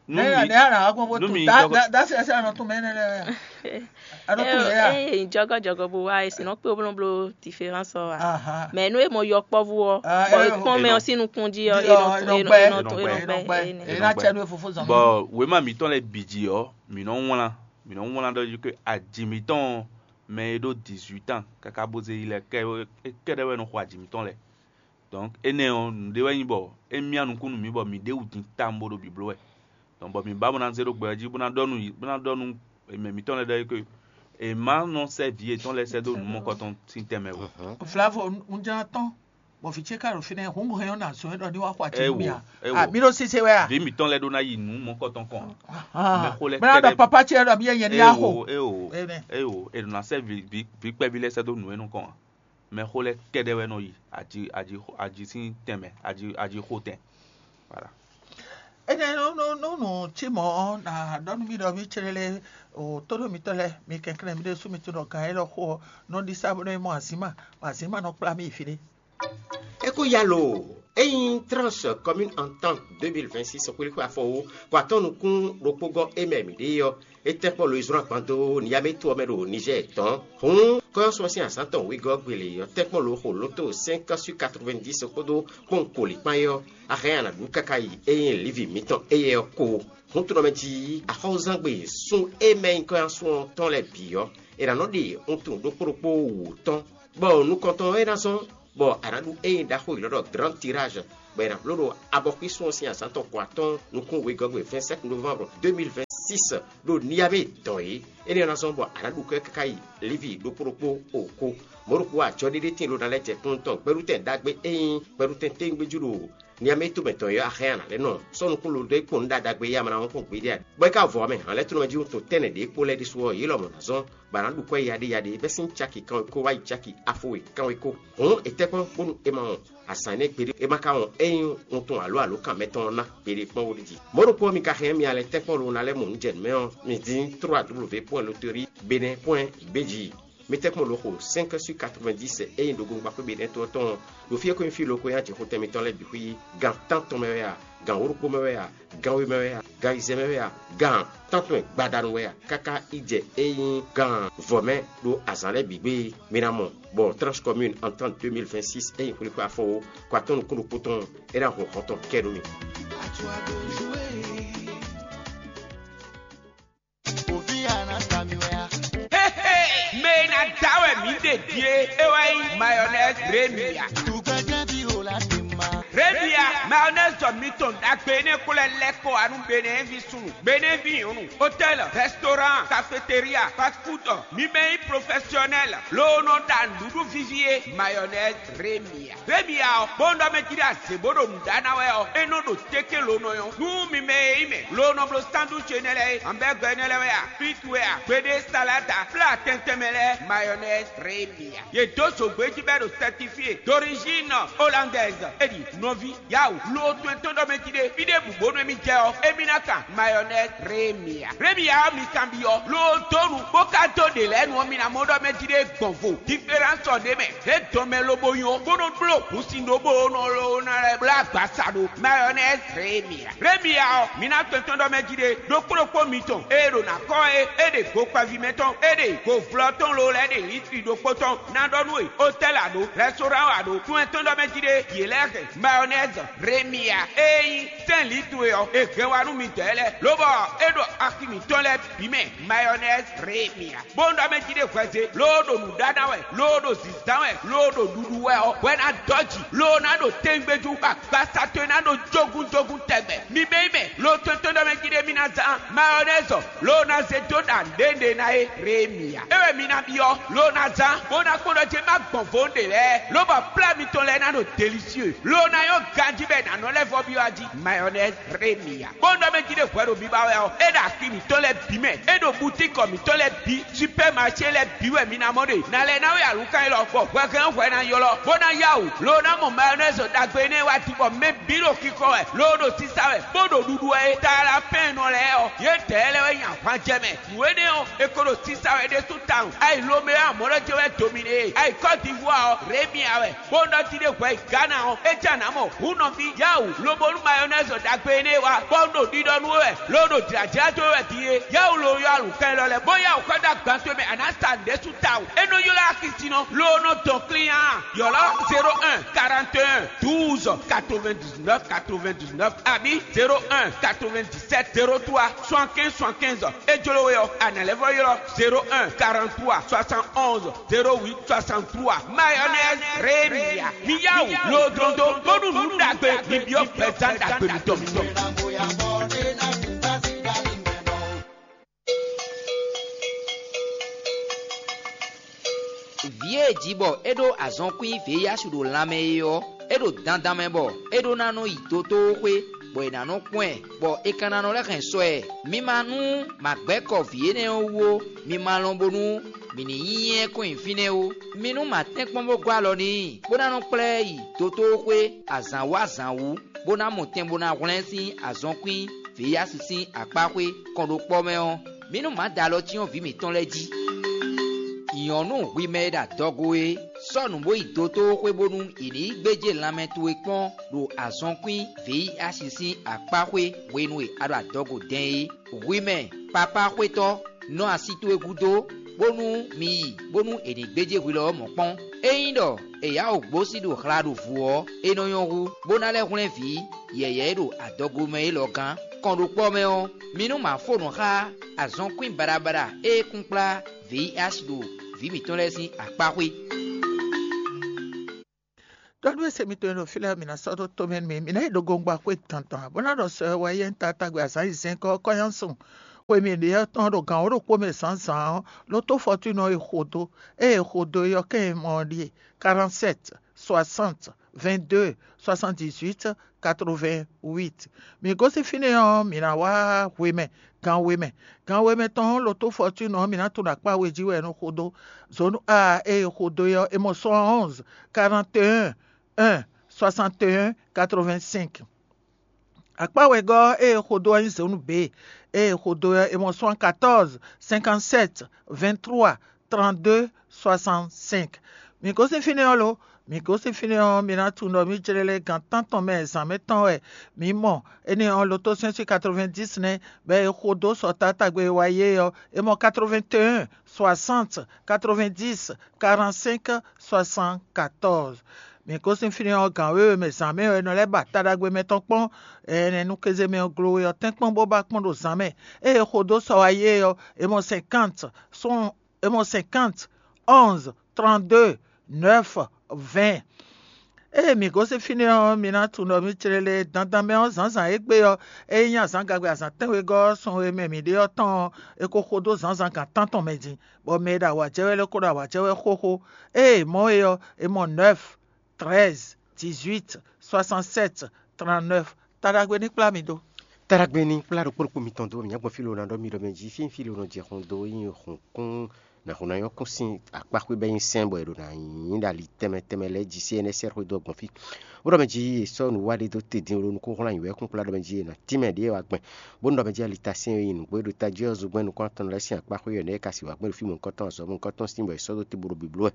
Nú Nɛ̌ mi- nɛ̌ yá gbɔn bó nú tɔn? mi Dá jɔgɔ- dá dá sí ẹsẹ̀ àná tún mɛ nɛ lɛ. Àná tún mɛ yá. Eye jɔgɔjɔgɔ bó wá esi nɔ kpé oblóbló différence ɔ wa. Aha. Mais nú e mɔ yɔkpɔ́vú ɔ, Ah, bɔ eh, e kpɔn mɛ Enɔ. Ɔ sín nukún jí ɔ, Enɔ. Enɔ Enɔ gbɛ. Enɔ Enɔ gbɛ. Enɔ gbɛ. Enɔ gbɛ. Ene. Ena tsɛ nú efofo zɔn. Bɔ wěma mǐtɔn lɛ́ɛ bǐ jí ɔ́, mǐ nɔ wlán mǐ nɔ wlán ɖɔ jí ké aji mǐtɔn mɛ e ɖó dix-huit ans káká bó zé yi lɛ́ɛ kɛ kɛ́ɖɛ́ wɛ nɔ xo aji mǐtɔn lɛ́ɛ. Donc énɛ́ ɔ́, nǔɖé wɛ nyí bɔ é myá nukún nú mǐ bɔ mǐ ɖe wǔ din tawun bó ɖo bǐbló wɛ. Donc bɔ mǐ ba bó ná zé ɖó gbɛ ɔ́ jí bó ná ɖɔ nú yě bó ná ɖɔ nú mɛ mǐtɔn lɛ́ɛ ɖɔ é ké è má nɔ sɛ́ vǐ yětɔn lɛ́ɛ sɛ́ dó nǔ mɔkɔtɔn sín tɛnmɛ ó. Vlavo, un jlá tɔn, bɔ vǐ ce ka ɖo fínɛ́, hǔn hɛn ɔ́ nǎ zɔn ɛ ɖɔ ní wá xɔ aci nú mì a? Ewo, ewo. Mi ɖo sise wɛ a? Vǐ mǐtɔn lɛ́ɛ ɖó ná yi nǔ mɔkɔtɔn kɔn. Mɛ xó lɛ́ɛ Bɛ́ ná ɖɔ kɛ́ɖɛ́- papa ce ɖɔ mì yɛ nyɛ ní axo. Ewo, ewo, Amen. Ewo, è nɔ ná sɛ́ vǐ vǐ vǐ kpɛví lɛ́ɛ sɛ́ dó nǔ énɔ́ kɔn a? Mɛ xó lɛ́ɛ kɛ́ɖɛ́ wɛ nɔ yi aji aji aji sín tɛnmɛ aji aji xó tɛn. Voilà. Énɛ́ nú nú nú nǔ cí mɔ̌ ɔ́, nǎ ɖɔ nú mì ɖɔ mì céɖélé o tóɖó mitɔ́ lɛ́ɛ, mi kɛnklɛ́n mi ɖésú mi tunwun ɖɔ gǎn élɔ́ xo ɔ́ nɔ ɖi sá bónú é mɔ azǐn ma, bɔ azǐn ma nɔ kplá mì yi fiɖé. É ko ya lo ényí Tranche Commune Entente deux mille vingt-six xwlíxwé afɔwó kɔ atɔ́ nukún ɖokpó gɔ́ é mɛ mǐ ɖe é ɔ́, é tɛ́nkpɔ́n lo e zlɔ́n agban dó Niamey to ɔ́ mɛ ɖo Nizɛ́ɛ tɔn. Hǔn kɔ́yɔ́sú ɔ́ sín azǎn tɔn wegɔ́ gbele ɔ́ tɛ́nkpɔ́n lo xo lóto cinq sur quatre-vingt-dix kpódó kpɔ́n koli kpán é ɔ́, a hɛn a nǎ ɖu káká yi ényí lívi mǐtɔn éyɛ́ ɔ́ ko. Hǔn tunɔ mɛ jí axɔ́zangbe sún e mɛ nyí kɔ́yɔ́sú ɔ́ tɔn lɛ́ɛ bǐ ɔ́, è nǎ nɔ ɖe wuntun ɖokpó ɖokpó wǔ tɔn, bɔ nukɔntɔn ɔ́ é ná zɔ́n bɔ a nǎ ɖu ényí ɖaxó yěɖɔ́ ɖɔ Grand Tirage, bɔ è nǎ bló ɖo abɔxwísun ɔ́ sín azǎn tɔn ko atɔ́ɔ́n nukún wegɔ́gbe vingt-sept novembre deux mille vingt-six ɖo Niamey dɔn é. Énɛ́ ɔ́ ná zɔ́n bɔ a nǎ ɖu kɔ́ káká yi Livi ɖokpó ɖokpó o ko. Mɔ̌ ɖokpó ajɔɖéɖé tíin ɖó ná lɛ́ jɛ kplɔ́n tɔn gbɛɖutɛn ɖagbe e nyí gbɛɖutɛn téwúngbéjú ɖo Niamey tomɛ tɔn é ɔ́, a hɛn a nǎ lɛ́ nɔ sɔ́ nukún lo dó é kpɔ́n nǔ ɖagbe ɖagbe e a ma ná wɔn kpɔ́n gbeɖé ǎ. Bɔ é ka vɔ ɔ́ mɛ, hǎnlɛ́tɔ́nɔmɛ jí wuntun tɛ́nnɛ ɖě kpó lɛ́ɛ ɖésú ɔ́, yě lɔmɔ̌ ná zɔ́n bɔ a nǎ ɖu kwɛ́ yaɖé yaɖé bɛ́ sín caki kanwekó wá yi caki afo e kanwekó. Hǔn è tɛ́ kpɔ́n bónú è ma wɔn azǎn énɛ́ gbeɖé, è ma ka wɔn ényí wuntun alo alǒkan mɛtɔn ɔ́ ná gbeɖé kpɔ́n ó ɖi jí. Mɔ̌ ɖokpó ɔ́, mi ka hɛn mì alɛ tɛ́nkpɔ́n lo ná lɛ́ mɔ nǔ jɛ nǔ mɛ ɔ́, mi dín trois w v point loterie benin point b g. Mi tɛ́nkpɔ́n lo xo cinq sur quatre-vingt-dix ényí ɖo gongbaxwé benin to ɔ́ tɔn ɔ́, ɖo fí e ko nyí fí lo ko nyí ajixotɛn mitɔn lɛ́ɛ bǐ xwí gan tántɔn mɛ wɛ a, gan wǒ ɖokpó mɛ wɛ a, gan we mɛ wɛ a, gan ayizɛ́n mɛ wɛ a, gan tántɔn e gbadanu wɛ a, káká yi jɛ e nyí gan vɔ̌ mɛ ɖo azǎn lɛ́ɛ bǐ gbé. Mi ná mɔ bɔ Tranche Commune Entente deux mille vingt-six e nyí xwlíxwé afɔwo kɔ atɔ́ nukún ɖokpó tɔn é ná hun hɔn tɔn kɛ ɖó mi. Mɛ e ná da wɛ mǐ ɖe din é, é wɛ nyí mayonnaise Remia. Remia, mayonnaise jɔ mitɔn ɖagbe énɛ́ kó lɛ́ lɛ́ kɔ wá nú Benɛ́ɛvi súnnu, Benɛ́vi nyɔ̌nu, hôtel, restaurant, cafétéria, fast food, mi mɛ nyí professionnel, loo nɔ ɖa nǔɖuɖu víví é, mayonnaise Remia. Remia ɔ́, bó nɔ mɛ jí ɖe azě bó ɖo nǔ ɖa ná wɛ ɔ́, é nɔ ɖo téké lo nɔ nyɔ́. Nú mi mɛ e nyí mɛ, lo nɔ bló sandwich énɛ́ lɛ́ɛ é, hamburger énɛ́ lɛ́ɛ wɛ a, frites wɛ a, gbeɖé salade a, plat tɛntɛn mɛ lɛ́ɛ, mayonnaise Remia. Yě dó zǒgbé jí bɔ é ɖo certifié d'origine hollandaise. É ɖi nɔví, yawu, lo tɔn e tɔn ɖɔ mɛ jí ɖe, fí ɖěbǔ bónú émí jɛ ɔ́, émí ná kan mayonnaise Remia. Remia ɔ́, mi kanbyɔ́, lo dó nu, bó ka dó ɖě lɛ́ɛ nu ɔ́, mi ná mɔ ɖɔ mɛ jí ɖe gbɔn vo. Différence ɔ́ ɖ'é mɛ, é dɔn mɛ lobo nyɔ, bó nɔ bló hǔnsin ɖó bó nɔ lo ná lɛ́ bló agbasa ɖó mayonnaise Remia. Remia ɔ́, mi ná tɔn tɔn ɖɔ mɛ jí ɖe, ɖokpó ɖokpó mitɔn, ée ɖo ná kɔ́ é, é ɖe go kpaví mɛ tɔn, é ɖe go vlɔ tɔn lo lɛ́ɛ ɖe litri ɖokpó tɔn, ná ɖɔ nú we, hôtel a ɖǒ, restaurant a ɖǒ, tún ɛ tɔn ɖɔ mɛ jí ɖe, yě lɛ́ hɛn mayonnaise Remia e nyí sɛ́n lǐ towe ɔ́, è hɛn wá nú midɛɛ lɛ́ɛ, lobɔ é ɖo axi mǐtɔn lɛ́ɛ bǐ mɛ, mayɔnɛzi Remia. Bó ɖɔ mɛ jí ɖé hwɛze, loo ɖo nǔ ɖa ná wɛ, loo ɖo zǐzán wɛ, loo ɖo ɖuɖu wɛ ɔ́, hwɛ ná dɔ́ jǐ, loo ná ɖo tɛ́ngbéjú, agbaza towe ná ɖo jógúnjógún tɛgbɛ. Mi mɛ yi mɛ, loo tɔn tɔn ɖɔ mɛ jí ɖé mi ná zán mayɔnɛzi ɔ́, loo ná zé dó ɖa nǔɖé ná é Remia. É wɛ mi ná byɔ́, loo ná zán, bó ná kpɔ́n ɖɔ jé má gbɔn vo ɖě lɛ́ɛ, lobɔ plá mitɔn lɛ́ɛ ná ɖo delisieu, loo ná nyɔ́ ganjí bɔ è nǎ nɔ lɛ́ vɔ byɔ́ ají. Mayɔnɛzi Remia. Kpɔ́n ɖɔ mɛ jí ɖé hwɛ ɖo biba wɛ ɔ́, é ɖo axi mǐtɔn lɛ́ɛ bǐ mɛ, é ɖo butíkɔ mǐtɔn lɛ́ɛ bǐ, supɛ́maṣé lɛ́ɛ bǐ wɛ mi ná mɔ ɖe. Nǎ lɛ́ ná wɛ alǔkan élɔ́, bɔ hwɛhɛn hwɛ ná ylɔ́, bó ná yá wǔ, loo ná mɔ mayɔnɛzi ɖagbe énɛ́ wá din, bɔ mɛ bǐ ɖo xixɔ wɛ, loo ɖo sisa wɛ, bó ɖo ɖuɖu wɛ é. Talapɛ́nnɔ lɛ́ɛ ɔ́, yědɛɛ lɛ́ɛ wɛ nyi ahwan jɛ mɛ. Nǔ énɛ́ ɔ́, è ko ɖo sisa wɛ ɖésú tawun. Ayi Lomeo amɔ̌ lɔ jɛ wɛ dominé e. Ayi Kɔ́divuwa ɔ́, Remia wɛ. Bó ɖɔ jí ɖé hwɛ yi Gana ɔ́, é jɛ nǎ mɔ hǔn nɔví. Yáwǔ, lobo nú mayɔnɛzi ɖagbe énɛ́ wá, bɔ un ɖo ɖiɖɔ nú we wɛ, lo ɖo jlǎjlá dó we wɛ din é. Yáwǔ lo yɔ alǔkɛn lɔ lɛ́ɛ, bó yáwǔ xɔ dó agban towe mɛ, a nǎ sa nǔɖé sú tawun. É nɔ ylɔ́ axi sin nɔ, lo nɔ dɔn klín a. Yɔ̌lɔ́ zéro un quarante et un douze quatre-vingt-dix-neuf quatre-vingt-dix-neuf abǐ zéro un quatre-vingt-dix-sept zéro trois soixante-quinze soixante-quinze. É jló we ɔ́, a nǎ lɛ́ vɔ ylɔ́ zéro un quarante-trois soixante-onze zéro huit soixante-trois. Mayonnaise Rémia. Mi yá wǔ lodlondo bónú nǔ ɖagbe mi byɔ́ gbɛzán ɖagbe mitɔn. Vǐ e è ji bɔ é ɖó azɔnkwín vǐyásu ɖo lanmɛ é ɔ́, é ɖo dandan mɛ bɔ é ɖó ná nɔ yi dotóxwé, bɔ è nǎ nɔ kpɔ́n ɛ, bɔ è ka ná nɔ lɛ́ hɛn sɔ ɛ. Mi ma nú ma gbɛ́ kɔ vǐ énɛ́ ɔ́ wú ó, mi ma lɔn bónú mǐ ní nyí ɛ kɔn nyi fínɛ́ ó. Mi nú ma tɛ́nkpɔ́n bó gɔ́ alɔ n'i, bó ná nɔ kplá ɛ yi dotóxwé azǎn wú azǎn wú, bó ná mɔ tɛn bó ná hwlɛ́n sín azɔnkwín vǐyásu sín akpáxwé kɔnɖókpɔ́ mɛ ɔ́, mǐ nú mǎ da alɔ cyɔ́n vǐ mǐtɔn lɛ́ɛ jí. Nyɔ̌nu hwi mɛ e ɖo adɔgo é, sɔ́ nǔ bó yi dotóxwé bónú è ní yi gbéjé lanmɛ towe kpɔ́n ɖo azɔnkwín vǐyásu sín akpáxwé hwenu e a ɖo adɔgo dɛn é. Hwi mɛ papáxwétɔ́, nɔ asi towe gúdo, bónú mi yi, bónú è nǐ gbéjé hwi lɔ ɔ́ mɔ̌ kpɔ́n. Ényí ɖɔ è yá wǔ gbósí ɖo hla ɖo vǔ ɔ́, é nɔ nyɔ́ hú, bó ná lɛ́ hwlɛ́n vǐ yɛ̌yɛ́ e ɖo adɔgo mɛ élɔ́ gán. Kɔnɖókpɔ́ mɛ ɔ́, mi nú ma fó nǔ xá azɔnkwín baɖabaɖa e kún kplá vǐ asi ɖo vǐ mǐtɔn lɛ́ɛ sín akpáxwé. Ɖɔ nú ese mitɔn e ɖo fí lɛ́ɛ, mǐ ná sɔ́ ɖó tomɛ nú mi. Mǐ ná yi ɖo gongba xwé dandan, bó ná ɖɔ sɔ e wɛ yɛ́n ta tagbe azǎn yi zɛ́nkɔ́ kɔ́nyásun. Xwe mǐ ɖe ɔ́ tɔn ɖo gǎn wǒ ɖokpó mɛ zǎnzǎn ɔ́, ló tó fɔtúnɔ e xo dó. Ée è xo dó é ɔ́, kɛ́n e mɔ ɔ́ ɖíe: quarante-sept, soixante, vingt-deux, soixante-dix-huit, quatre-vingt-huit. Mǐ gosín fínɛ́ ɔ́, mǐ ná wá hwemɛ, gan we mɛ. Gan we mɛ tɔn ɔ́, ló tó fɔtúnɔ ɔ́, mǐ ná tunwun ɖo akpá we jí wɛ è nɔ xo dó. Zǒnu A e è xo dó é ɔ́, è mɔ sɔ́ ɔ́ onze, quarante et un, un, soixante et un, quatre-vingt-cinq. Akpá wegɔ́ ɔ́, ée è xo dó ɔ́ nyí zǒnu B. Ée è xo dó ɔ́, è mɔ soixante-quatorze, cinquante-sept, vingt-trois, trente-deux, soixante-cinq. Mǐ gosín fínɛ́ ɔ́ lo? Mǐ gosín fínɛ́ ɔ́, mi ná tunwun ɖɔ mǐ jlɛ́ lɛ́ gan tántɔn mɛ zǎn mɛ tɔn wɛ mǐ mɔ. Énɛ́ ɔ́, lotosɛ́nsi quatre-vingt-dix nɛ́, bɔ è xo dó sɔ Taátagbe e wá yi é ɔ́, è mɔ quatre-vingt-un, soixante, quatre-vingt-dix, quarante-cinq, soixante-quatorze. Mǐ gosín fínɛ́ ɔ́, gǎn wěwe mɛ zǎn mɛ ɔ́, è nɔ lɛ́ ba ta ɖagbe mɛ tɔn kpɔ́n. Ɛnɛ nú kéze mɛ ɔ́ glo we ɔ́, tɛ́nkpɔ́n bó ba kpɔ́n ɖo zǎn mɛ. Ée è xo dó sɔ wá yi é ɔ́, è mɔ cinquante, è mɔ cinquante, onze, trente-deux, neuf, vingt. Ée mǐ gosín fínɛ́ ɔ́, mi ná tunwun ɖɔ mǐ clɛ́ lɛ́ɛ dandan mɛ ɔ́, zǎnzǎn égbé ɔ́, é nyí azǎn gagbe azǎn tɛ́nwegɔ́ ɔ́, sun e mɛ mǐ ɖe ɔ́ tɔn ɔ́, è ko xo dó zǎnzǎn gan tántɔn mɛ din, bɔ mɛ e ɖo awǎjɛ wɛ lɛ́ɛ ko ɖo awǎjɛ wɛ xóxó. Ée è mɔ é ɔ́, è mɔ neuf, treize, dix-huit, soixante-sept, trente-neuf. Ta ɖagbe ní kplá mi dó. Taɖagbe ní kplá ɖokpó ɖokpó mitɔn dó, mǐ nya gbɔn fí lo ná ɖɔ mi ɖɔ mɛ jí, fí fí lo nɔ jɛ xɔn dó nyi xɔn kún nǎ xo ná nyɔ́ kún sín akpáxwé bɔ é nyí sɛ́n, bɔ è ɖo ná nyí ɖo ali tɛnmɛ tɛnmɛ lɛ́ɛ jí sí énɛ́ sɛ́ xwedó ɔ́ gbɔn fí. Bó ɖɔ mɛ jí è sɔ́ nǔ wá ɖé dó te dín lo nukúnxwlányi wɛ kún kplá ɖɔ mɛ jí è nǎ tínmɛ ɖě wá gbɛn. Bó nɔ ɖɔ mɛ jí alitá syɛ́n e nyi nǔgbó e ɖo tají ɔ́ zungbɛ́n nukún atɔn lɛ́ɛ sín akpáxwé yɔ̌yɔ́ nɛ́ é ka sixú wá gbɛn ɖo fí mɔ̌hunkɔtɔn azɔ̌ mɔ̌hunkɔtɔn sín bɔ è sɔ́ dó te bó ɖo bǐbló wɛ.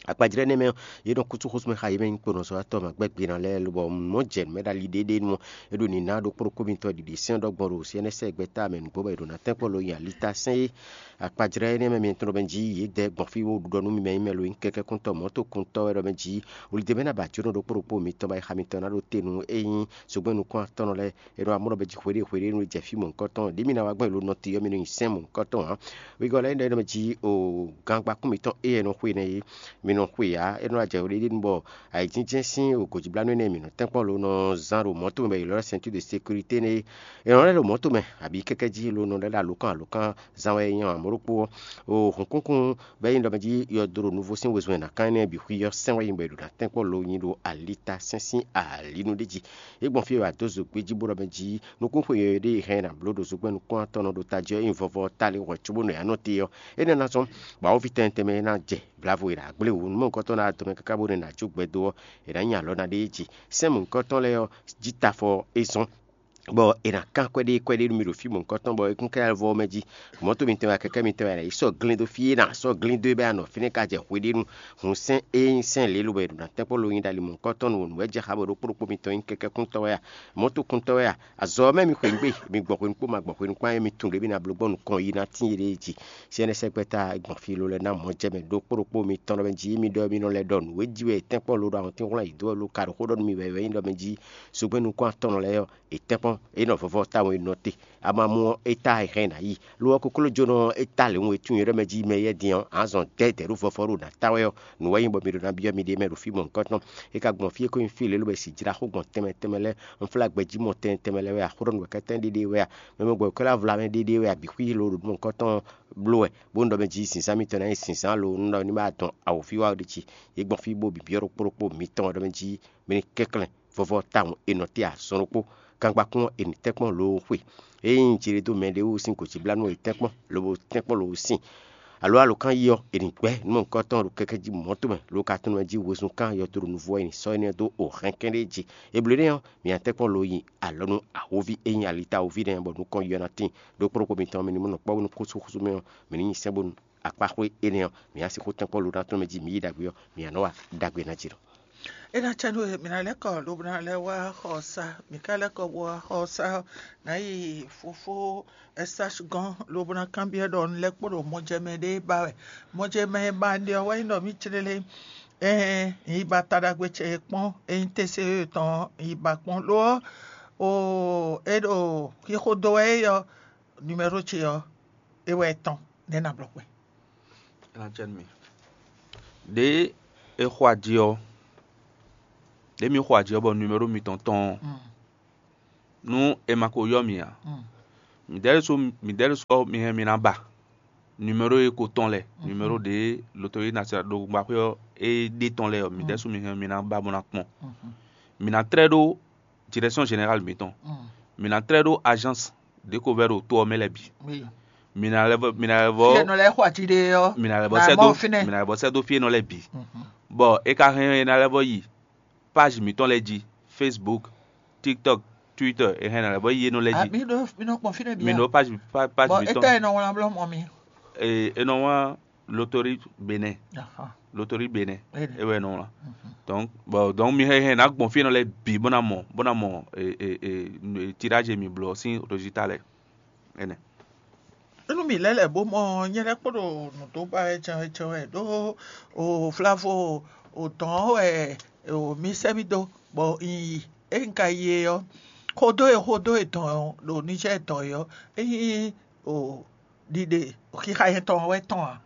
Akpajlɛ́ énɛ́ mɛ ɔ́, yě nɔ kútú xósúmɛ xa yě mɛ nyí kponɔzɔ́watɔ́ ma gbɛ́gbɛ́ ná lɛ́ɛ, lobɔ mɔ̌ jɛ nǔ mɛ ɖo ali ɖéɖénu ɔ́, é ɖo nǐ ná ɖó kpóɖokpó mitɔn ɖiɖi sɛ́n ɖɔgbɔn ɖo syɛ́nɛ́sɛ́ gbɛ́ta mɛ nǔgbó bɔ è ɖo ná tɛ́nkpɔ́ lo nyi alita sɛ́n é. Akpajlɛ́ énɛ́ mɛ mitɔn ɖɔ mɛ jí yě dɛ gbɔn fí bó ɖɔ nú mi mɛ nyí mɛ lo nyí kɛkɛ́kúntɔ́ mɔ̌tokúntɔ́ wɛ ɖɔ mɛ jí, wlidɛ́mɛ ná ba jǒnɔ ɖó kpóɖokpó mitɔn ba yi xa mitɔn ná ɖo te nú é nyí zogbɛ́n nukún atɔ́nɔ lɛ́ɛ. È nɔ wá mɔ ɖɔ mɛ jí hweɖé hweɖé nú jɛ fí mɔ̌hunkɔtɔn, ɖě mi ná wá gbɔn è lo nɔ te ɔ́, mi nɔ nyi sɛ́n mɔ̌hunkɔtɔn ǎ. Wegɔ́ lɛ́ɛ ɖɔ mɛ jí o gangba kún mitɔn éyɛ́ nɔ xwe nɛ́ é, mi nɔ xwe ǎ. É nɔ wá jɛ hweɖé nu bɔ ayǐjínjɛ́n sín gǒjíblánú énɛ́ mǐ nɔ tɛ́nkpɔ́n lo nɔ zán ɖo mɔ̌to mɛ bɔ è ylɔ́ ceinture de sécurité nɛ́ é. È nɔ lɛ́ ɖo mɔ̌to mɛ abǐ kɛ́kɛ́ jí lo nɔ lɛ́ ɖo alǒkan alǒkan zán wɛ é nyí amɔ̌ ɖokpó ɔ́. O hǔnkúnkún bɔ é nyí ɖɔ mɛ jí yɔdo ɖo nuvo sín wezun e è nǎ kán énɛ́ bǐ xwí ɔ́ sɛ́n wɛ nyí bɔ è ɖo ná tɛ́nkpɔ́n lo nyi ɖo alita sɛ́n sín alǐnu ɖé jí. É gbɔn fí e è wǎ dó zogbí jí bó ɖɔ mɛ jí nukúnxwe yɔ̌yɔ́ ɖé e hɛn è nǎ bló ɖo zogbɛ́n nukún-atɔn ɔ́ ɖo tají ɔ́ nyi vɔvɔ ɔ́ ta lin hwɛ̌ cóbónɔ é ná nɔ te ɔ́, énɛ́ ná zɔ́n bɔ awɔ́ví tɛnmɛ tɛnmɛ e ná jɛ blǎvo e ɖo agbléwǔ nú mɔ̌hunkɔtɔn ná dɔmɛ káká bónú è nǎ jó gbɛ dó ɔ́, è nǎ nyi alɔ ná ɖ'é jí. Sɛ́n mɔ̌hunkɔtɔn lɛ́ɛ ɔ́, jí tafɔ é zɔ́n, bɔ è nǎ kán kpɛɖé kpɛɖé nú mi ɖo fí mɔ̌hunkɔtɔn, bɔ é kún ká vɔ mɛ jí. Mɔ̌to mitɔn wɛ, kɛkɛ́ mitɔn wɛ, è nǎ yi sɔ́ glín dó fí é nǎ sɔ́ glín dó é bɔ é nɔ fínɛ́ ka jɛ hweɖénu. Hun sɛ́n e nyí sɛ́n lě lobo è ɖo ná tɛ́nkpɔ́n lo nyi ɖo ali mɔ̌hunkɔtɔn nu wǒ nǔ wɛ jɛ xá bɔ ɖokpó ɖokpó mitɔn nyí kɛkɛ́kúntɔ́ wɛ a? Mɔ̌tokúntɔ́ wɛ a? Azɔ̌ ɔ́ mɛ mi xweyǐgbe, mi gbɔn hwenu kpó ma gbɔn hwenu kpó ǎ, mi tunwun ɖě mi ná bló gbɔn nukɔn yi ná tíin yéɖée jí. Sɛ́nɛ́sɛ́gbɛ́ta gbɔn fí ló lɛ́ɛ ná mɔ̌ jɛ mɛ ɖokpó ɖokpó mitɔn lɔ mɛ jí, mi ɖɔ mi nɔ lɛ́ ɖɔ nǔ e jí wɛ è tɛ́nkpɔ́n lo ɖo awɔntín hwlɛ́n yǐ dó wɛ lo ka ɖo xó ɖɔ nú mi wɛ é nyí ɖɔ mɛ jí. Zogbɛ́n nukún-atɔ́nɔ lɛ́ɛ ɔ́, è tɛ́nkpɔ́n, é nɔ vɔvɔ tawun e nɔ te. Ama mú ɔ́, é tá e hɛn ná yi. Lo ɔ́, koklójónɔ ɔ́, é tá lě wun e tunwun é ɖɔ mɛ jí mɛ yɛ́ din ɔ́, ǎ zɔn dɛ̌dɛ̌ ɖo vɔvɔ ɖo nǎ ta wɛ ɔ́, nǔ wɛ nyí bɔ mi ɖo ná byɔ́ miɖée mɛ ɖo fí mɔ̌hunkɔtɔn. É ka gbɔn fí e ko nyí fí lě lobo e sǐ jlá xó gbɔn tɛnmɛ tɛnmɛ lɛ́ɛ, un flá gbɛjí mɔ tɛnmɛ tɛnmɛ lɛ́ɛ wɛ a, xó ɖɔ nǔ wɛ kɛ́tɛ́n ɖéɖéé wɛ a, mɛ mɛ gbɔ kɛ́ lɛ́ vla mɛ ɖéɖéé wɛ a, bǐ xwí lo ɖo nǔ mɔ̌hunkɔtɔn bló wɛ, bó un ɖɔ mɛ jí zǐnzán mitɔn ná nyí zǐnzán lo un ɖɔ ní ma dɔn awǒvi wá ɖi jí. Yě gbɔn fí bó bǐ byɔ́ ɖokpó ɖokpó mitɔn ɖɔ mɛ jí mi ní kɛnklɛ́n vɔvɔ tawun è nɔ te azɔn ɖokpó. Gangbakún ɔ́, è nǐ tɛ́nkpɔ́n loo xwe. Ényí jǐ ɖé dó mɛ ɖé wú sín gǒjíblánú è tɛ́nkpɔ́n, lobo tɛ́nkpɔ́n loo sín. Alo alǒkan yi ɔ́, è nǐ gbɛ́ nǔmɔ̌hunkɔtɔn ɖo kɛkɛ́ jí mɔ̌ tɔn mɛ, lo ka tunwun mɛ jí wezun kan yɔdo ɖo nuvú ɔ́, è nǐ sɔ́ énɛ́ dó o hɛnkɛ́n ɖé jí. Eblo énɛ́ ɔ́, mǐ nǎ tɛ́nkpɔ́n lo nyi alɔ nú awǒvi e nyí alitawoví nɛ́, bɔ nukɔn yi ɔ́ ná tíin. Ɖó kplɔ́nkpó mitɔn ɔ́, mi ní mɔ nǔ kpɔ́ nú xúxúxú mɛ ɔ́, mǐ ní nyi sɛ́n bónú akpáxwé énɛ́ ɔ́, mǐ ná sixú tɛ́nkpɔ́n lo ná tɔn mɛ jí mǐ yi ɖagbe ɔ́, mǐ ná nɔ wa ɖagbe ná jí nɔ. É ná cɛ nú we, mǐ ná lɛ́ kɔ lobo ná lɛ́ wá xɔ ɔ́ sá. Mǐ ka lɛ́ kɔ bó wá xɔ ɔ́ sá ɔ́, nǎ yi fofó Ɛsási gɔ́n lobo ná kanbyɔ́ ɖɔ un lɛ́ kpo ɖo mɔjɛmɛ ɖé ba wɛ. Mɔjɛmɛ e ba un ɖe ɔ́ wɛ nyí ɖɔ mǐ clélé. Ɛɛn, un yi ba ta ɖagbe ce kpɔ́n, ényí tɛ́nse tɔn ɔ́, un yi ba kpɔ́n. Lo ɔ́, o é ɖo xixo dó wɛ é ɔ́, numɛ́ro ce ɔ́, é wɛ tɔn nɛ́ ná blɔ́ kpɛn. É ná cɛ nú mi. Ɖěe è xo aji ɔ́, ɖěe mi xo aji ɔ́ bɔ numero mitɔn tɔn ɔ́, nú è ma ko ylɔ́ mi ǎ, midɛɛ ɖésú midɛɛ ɖésú ɔ́, mi hɛn mi ná ba numero e ko tɔn lɛ́ɛ, numero ɖě lotoyi national ɖo gbǎxwé ɔ́ é ɖe tɔn lɛ́ɛ ɔ́, midɛɛ ɖésú mi hɛn mi ná ba bó ná kpɔ́n. Mi ná tlɛ́ ɖó direction générale mitɔn. Mi ná tlɛ́ ɖó agence ɖě ko vɛ́ ɖo to ɔ́ mɛ lɛ́ɛ bǐ. Mi ná lɛ́ vɔ mi ná lɛ́ vɔ Fí e nɔ lɛ́ xɔ ají ɖe ɔ́, mi ná lɛ́ vɔ nǎ sɛ́ mɔ dó fínɛ́. Mi ná lɛ́ vɔ sɛ́ dó fí e nɔ lɛ́ɛ bǐ. Bɔ é ka hɛn é ná lɛ́ vɔ yi page mǐtɔn lɛ́ɛ jí, Facebook, TikTok, Twitter, é hɛn ná lɛ́ vɔ yi é nɔ lɛ́ɛ Ah, jí. Mi ɖo mi nɔ kpɔn fínɛ́ bǐ. Mi a? Ɖo page pa- page Bɔ mǐtɔn. Étɛ́ e nɔ wlán blɔ́ mɔ mi? Ee, é nɔ wlán Lotori Benin. Aha. Lotori Benin. Ene. É wɛ é nɔ wlán. Donc, bon, donc mi hɛn hɛn ná gbɔn fí e nɔ lɛ́ɛ bǐ bó ná mɔ bó ná mɔ e, e, e, e, tirage e mi bló ɔ́ sín résultat lɛ́ɛ. Énɛ́. Nú mǐ lɛ́ lɛ̌ bó mɔ nyɛ lɛ́ kpo ɖo nǔ dó ba wɛ jɛ́n wɛ jɛ́n wɛ ɖó o flavo o dɔn ɔ́ wɛ o mi sɛ́ mì dó bɔ un yi. Ényí un ka yi e ɔ́, xodó e xodó e dɔn ɖo Niger dɔn e ɔ́, é nyí o ɖiɖe xixa nyɛtɔn wɛ tɔn ǎ.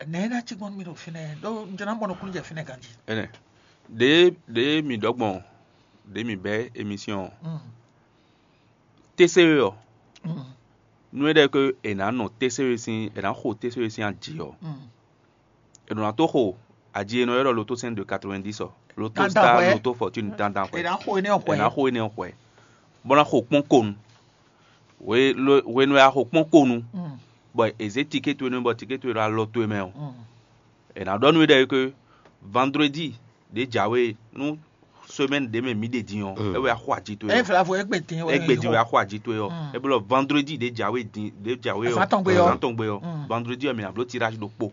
Nɛ̌ é ná cí gbɔn nú mì ɖo fínɛ́ ɖó un jló ná mɔ nukúnnú jɛ fínɛ́ ganjí. Énɛ́. Ɖě ɖě mi ɖɔ gbɔn ɖě mi bɛ́ émission ɔ́, Mm, téséwe ɔ́, mm, nú é ɖɔ é ké è nǎ nɔ téséwe sín è nǎ xo téséwe sín aji ɔ́, mm. È nɔ ná tó xo aji e nɔ ylɔ́ ɖɔ loto cent de quatre-vingt-dix ɔ́, loto Dandan star hwɛ. Loto fortune dandan hwɛ. È nǎ xo énɛ́ ɔ́ È hwɛ. Nǎ xo énɛ́ ɔ́ hwɛ, bó ná xo kpɔ́n konu. Hwe- lo- hwenu e a xo kpɔ́n konu, Mm, bɔ è zě tikét towe nú bɔ tikét towe ɖo alɔ towe mɛ ɔ́, mm. È nǎ ɖɔ nú we ɖɔ é ké vendredi ɖě jǎwe nú semaine ɖě mɛ mǐ ɖe din ɔ́, é wɛ axɔ aji towe ɔ́. Églé din wɛ axɔ aji towe ɔ́. É blɔ vendredi ɖě jǎwe din ɖě jǎwe ɔ́. Azǎn tɔn gbe ɔ́. Vendredi ɔ́, mǐ ná bló tirage ɖokpó.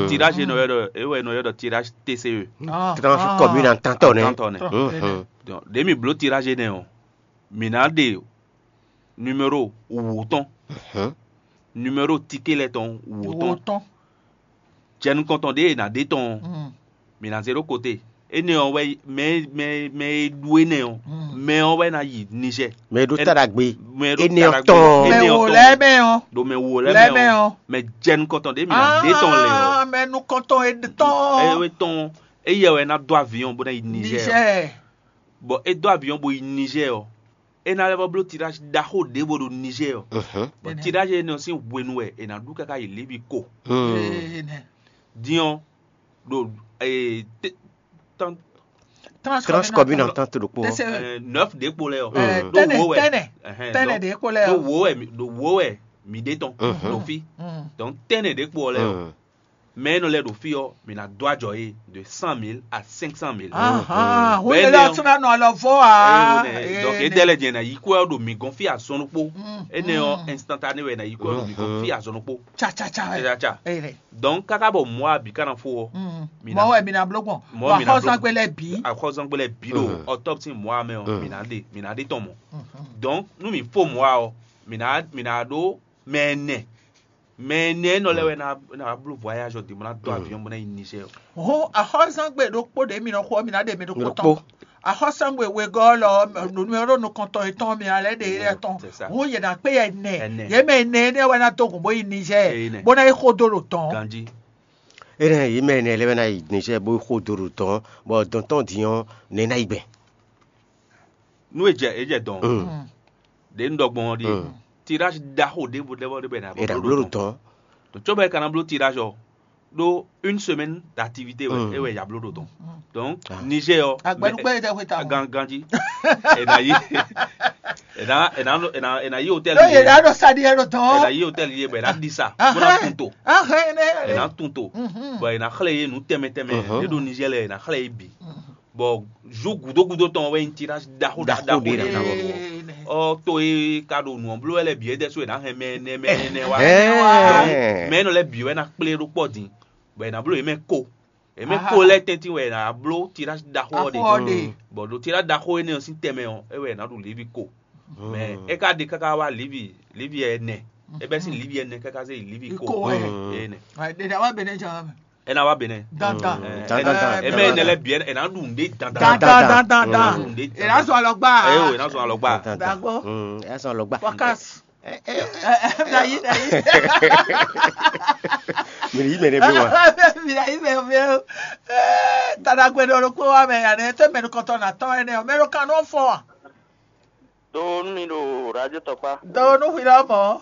Tirage nɔ ylɔ́ ɖɔ é wɛ nɔ ylɔ́ ɖɔ tirage T C E. Tranche commune en tant nɛ. Tantɔnɛ. Donc ɖě mǐ bló tirage énɛ́ ɔ́, mǐ ná ɖe numéro wǒ tɔn, numéro ticket lɛ́ɛ tɔn wǒ tɔn. Jɛ nukɔntɔn ɖě e è nǎ ɖe tɔn ɔ́, mǐ ná zé ɖó kote. Énɛ́ ɔ́ wɛ mɛ mɛ mɛ e ɖu énɛ́ ɔ́, mɛ ɔ́ wɛ ná yi Niger. Mɛ e ɖó ta ɖagbe. Mɛ e ɖó énɛ́ ɔ́ tɔn. Mɛ wò lɛ́ɛ mɛ ɔ́. Ɖo mɛ wò lɛ́ɛ mɛ ɔ́. Mɛ jɛ nukɔntɔn ɖě mǐ ná ɖe tɔn lɛ ɔ́. Mɛ nukɔntɔn e tɔn. Ɛ wɛ tɔn. Éyɛ wɛ ná dó avion bó ná yi Niger. Bɔ é dó avion bó yi Niger ɔ́, é ná lɛ́ vɔ bló tirage ɖaxó ɖěvo ɖo Niger ɔ́. Bɔ tirage énɛ́ ɔ́ sín hwenu wɛ è nǎ ɖu káká yi Libi ko. Din ɔ́, ɖo Tranche commune en tant ɖokpó ɔ́. Neuf ɖě kpo lɛ ɔ́. Ɖo wo wɛ tɛnɛ ɖě kpo lɛ ɔ́. Ɖo wo wɛ mi ɖe tɔn ɖo fí. Donc tɛnɛ ɖě kpo lɛ ɔ́. Mɛ e nɔ lɛ ɖo fí ɔ́, mǐ ná dó ajɔ yě de cent mille à cinq cent mille. Ahan, hu Bɛ̌ yě lɔ nɛ́ ɔ́. Tún ná nɔ alɔ vɔ a. Donc é dɛ́ lɛ́ jɛ ná yí kwɛ́ ɔ́ ɖo mǐ gɔ́n fí azɔn ɖokpó. Énɛ́ ɔ́ instantané wɛ è nǎ yí kwɛ́ ɔ́ ɖo mǐ gɔ́n fí azɔn ɖokpó. Cacaca wɛ. Cacaca. Eye lɛ. Donc káká bɔ mɔ̌ abǐ ká ná fó ɔ́, mǐ ná mɔ wɛ mi na bló gbɔn. Mɔ wà mi na bló xɔzɔngbe lɛ bǐ. Axɔzɔngbe lɛ bǐ ɖo ɔtɔ́psi mɔ̌ amɛ ɔ́, mǐ ná ɖe mǐ ná ɖe tɔn mɔ̌. Donc nú mǐ fó mɔ̌ ɔ́, mǐ ná mǐ ná ɖó mɛ ɛnɛ. Mɛ ɛnɛ nɔ lɛ́ wɛ ná ná bló voyage ɔ́ din bó ná dó avion bó ná yi Niger. Hɔn axɔzɔngbe ɖokpó ɖě mi nɔ xo ɔ́, mi ná ɖe mi ɖokpó tɔn. Axɔzɔngbe wegɔ́ lɔ numéro nukɔntɔn yětɔn mi ná lɛ́ ɖe yɛ tɔn. Hɔn yě ná kpé yɛ nɛ. Yě mɛ ɛnɛ énɛ́ wɛ ná dó gǔn bó yi Niger bó ná yi xó dó ɖo tɔn. Ganji. Énɛ́ yě mɛ ɛnɛ lɛ́ɛ wɛ ná yi Niger bó xó dó ɖo tɔn, bɔ dɔn tɔn din ɔ́, nɛ̌ ná yi gbɛn? Nú e jɛ é jɛ dɔn. Ɖě un ɖɔ gbɔn ɔ́ ɖíe. Tirage ɖaxó ɖěvo ɖěvo ɖé bɔ è nǎ È nǎ bló ɖo ɖo tɔn. Tɔn. Tó cóbɔ è ka ná bló tirage ɔ́, ɖó une semaine d'activité wɛ é wɛ ya bló ɖo tɔn. Donc Niger ɔ́. Agbɛnugbe yɛ tɛ xwe ta mɔ. Ganji è nǎ yi è nǎ è nǎ è nǎ yi hôtel. Ɖó yě ɖá ɖo sadi yɛ ɖo tɔn. È nǎ yi hôtel yé bɔ è nǎ ɖi sa bó ná tun to. Ahɛn nɛ. È nǎ tun to. Bɔ è nǎ xlɛ́ yé nǔ tɛnmɛ tɛnmɛ é ɖo Niger lɛ è nǎ xlɛ́ yé bǐ. Bɔ zu gúdó gúdó tɔn wɛ nyí tirage ɖaxó ɖaxó ɖaxó ɖé ɖaxó ɖaxó. Ɔ to e ka ɖo nǔ ɔ́ bló wɛ lɛ bǐ é ɖɛ́ sú è nǎ hɛn mɛ ɛnɛ mɛ ɛnɛ wá. Mɛ énɛ́ lɛ́ɛ bǐ wɛ ná kplé ɖó kpɔ́ din, bɔ è nǎ bló yě mɛ ko. Yě mɛ ko lɛ́ɛ tɛ́ntin wɛ è nǎ bló tirage ɖaxó ɔ́ ɖe. Bɔ ɖo tirage ɖaxó énɛ́ ɔ́ sín tɛmɛ ɔ́, é wɛ è nǎ ɖu livi ko. Mɛ é ka ɖe káká wá livi livi ɛnɛ. É bɛ́ sín livi ɛnɛ káká zé yi livi ko. Ko wɛ. Ɛnɛ. Ɖeɖe awa bɛnɛ jɛ wá mɛ. Ena wa bene. Dandan. Ena ena eme ene lɛ biɛ ena ɖu nɖe dandan. Dandan dandan. Ena ɖu nɖe dandan. Ena zɔ alɔgba. Eyo ena zɔ alɔgba. Dagbo. Ena zɔ alɔgba. Focus. Dayi dayi. Mi yi mɛ ne bi wa. Mi dayi mɛ mi. Tadagbe ɖo ɖokpó wa mɛ yanɛ tɛ mɛnu kɔtɔ na tɔn ɛnɛ o mɛnu kan nɔ fɔ wa. Do nu mi ɖo radio tɔkpa. Do nu hwi lɔ mɔ.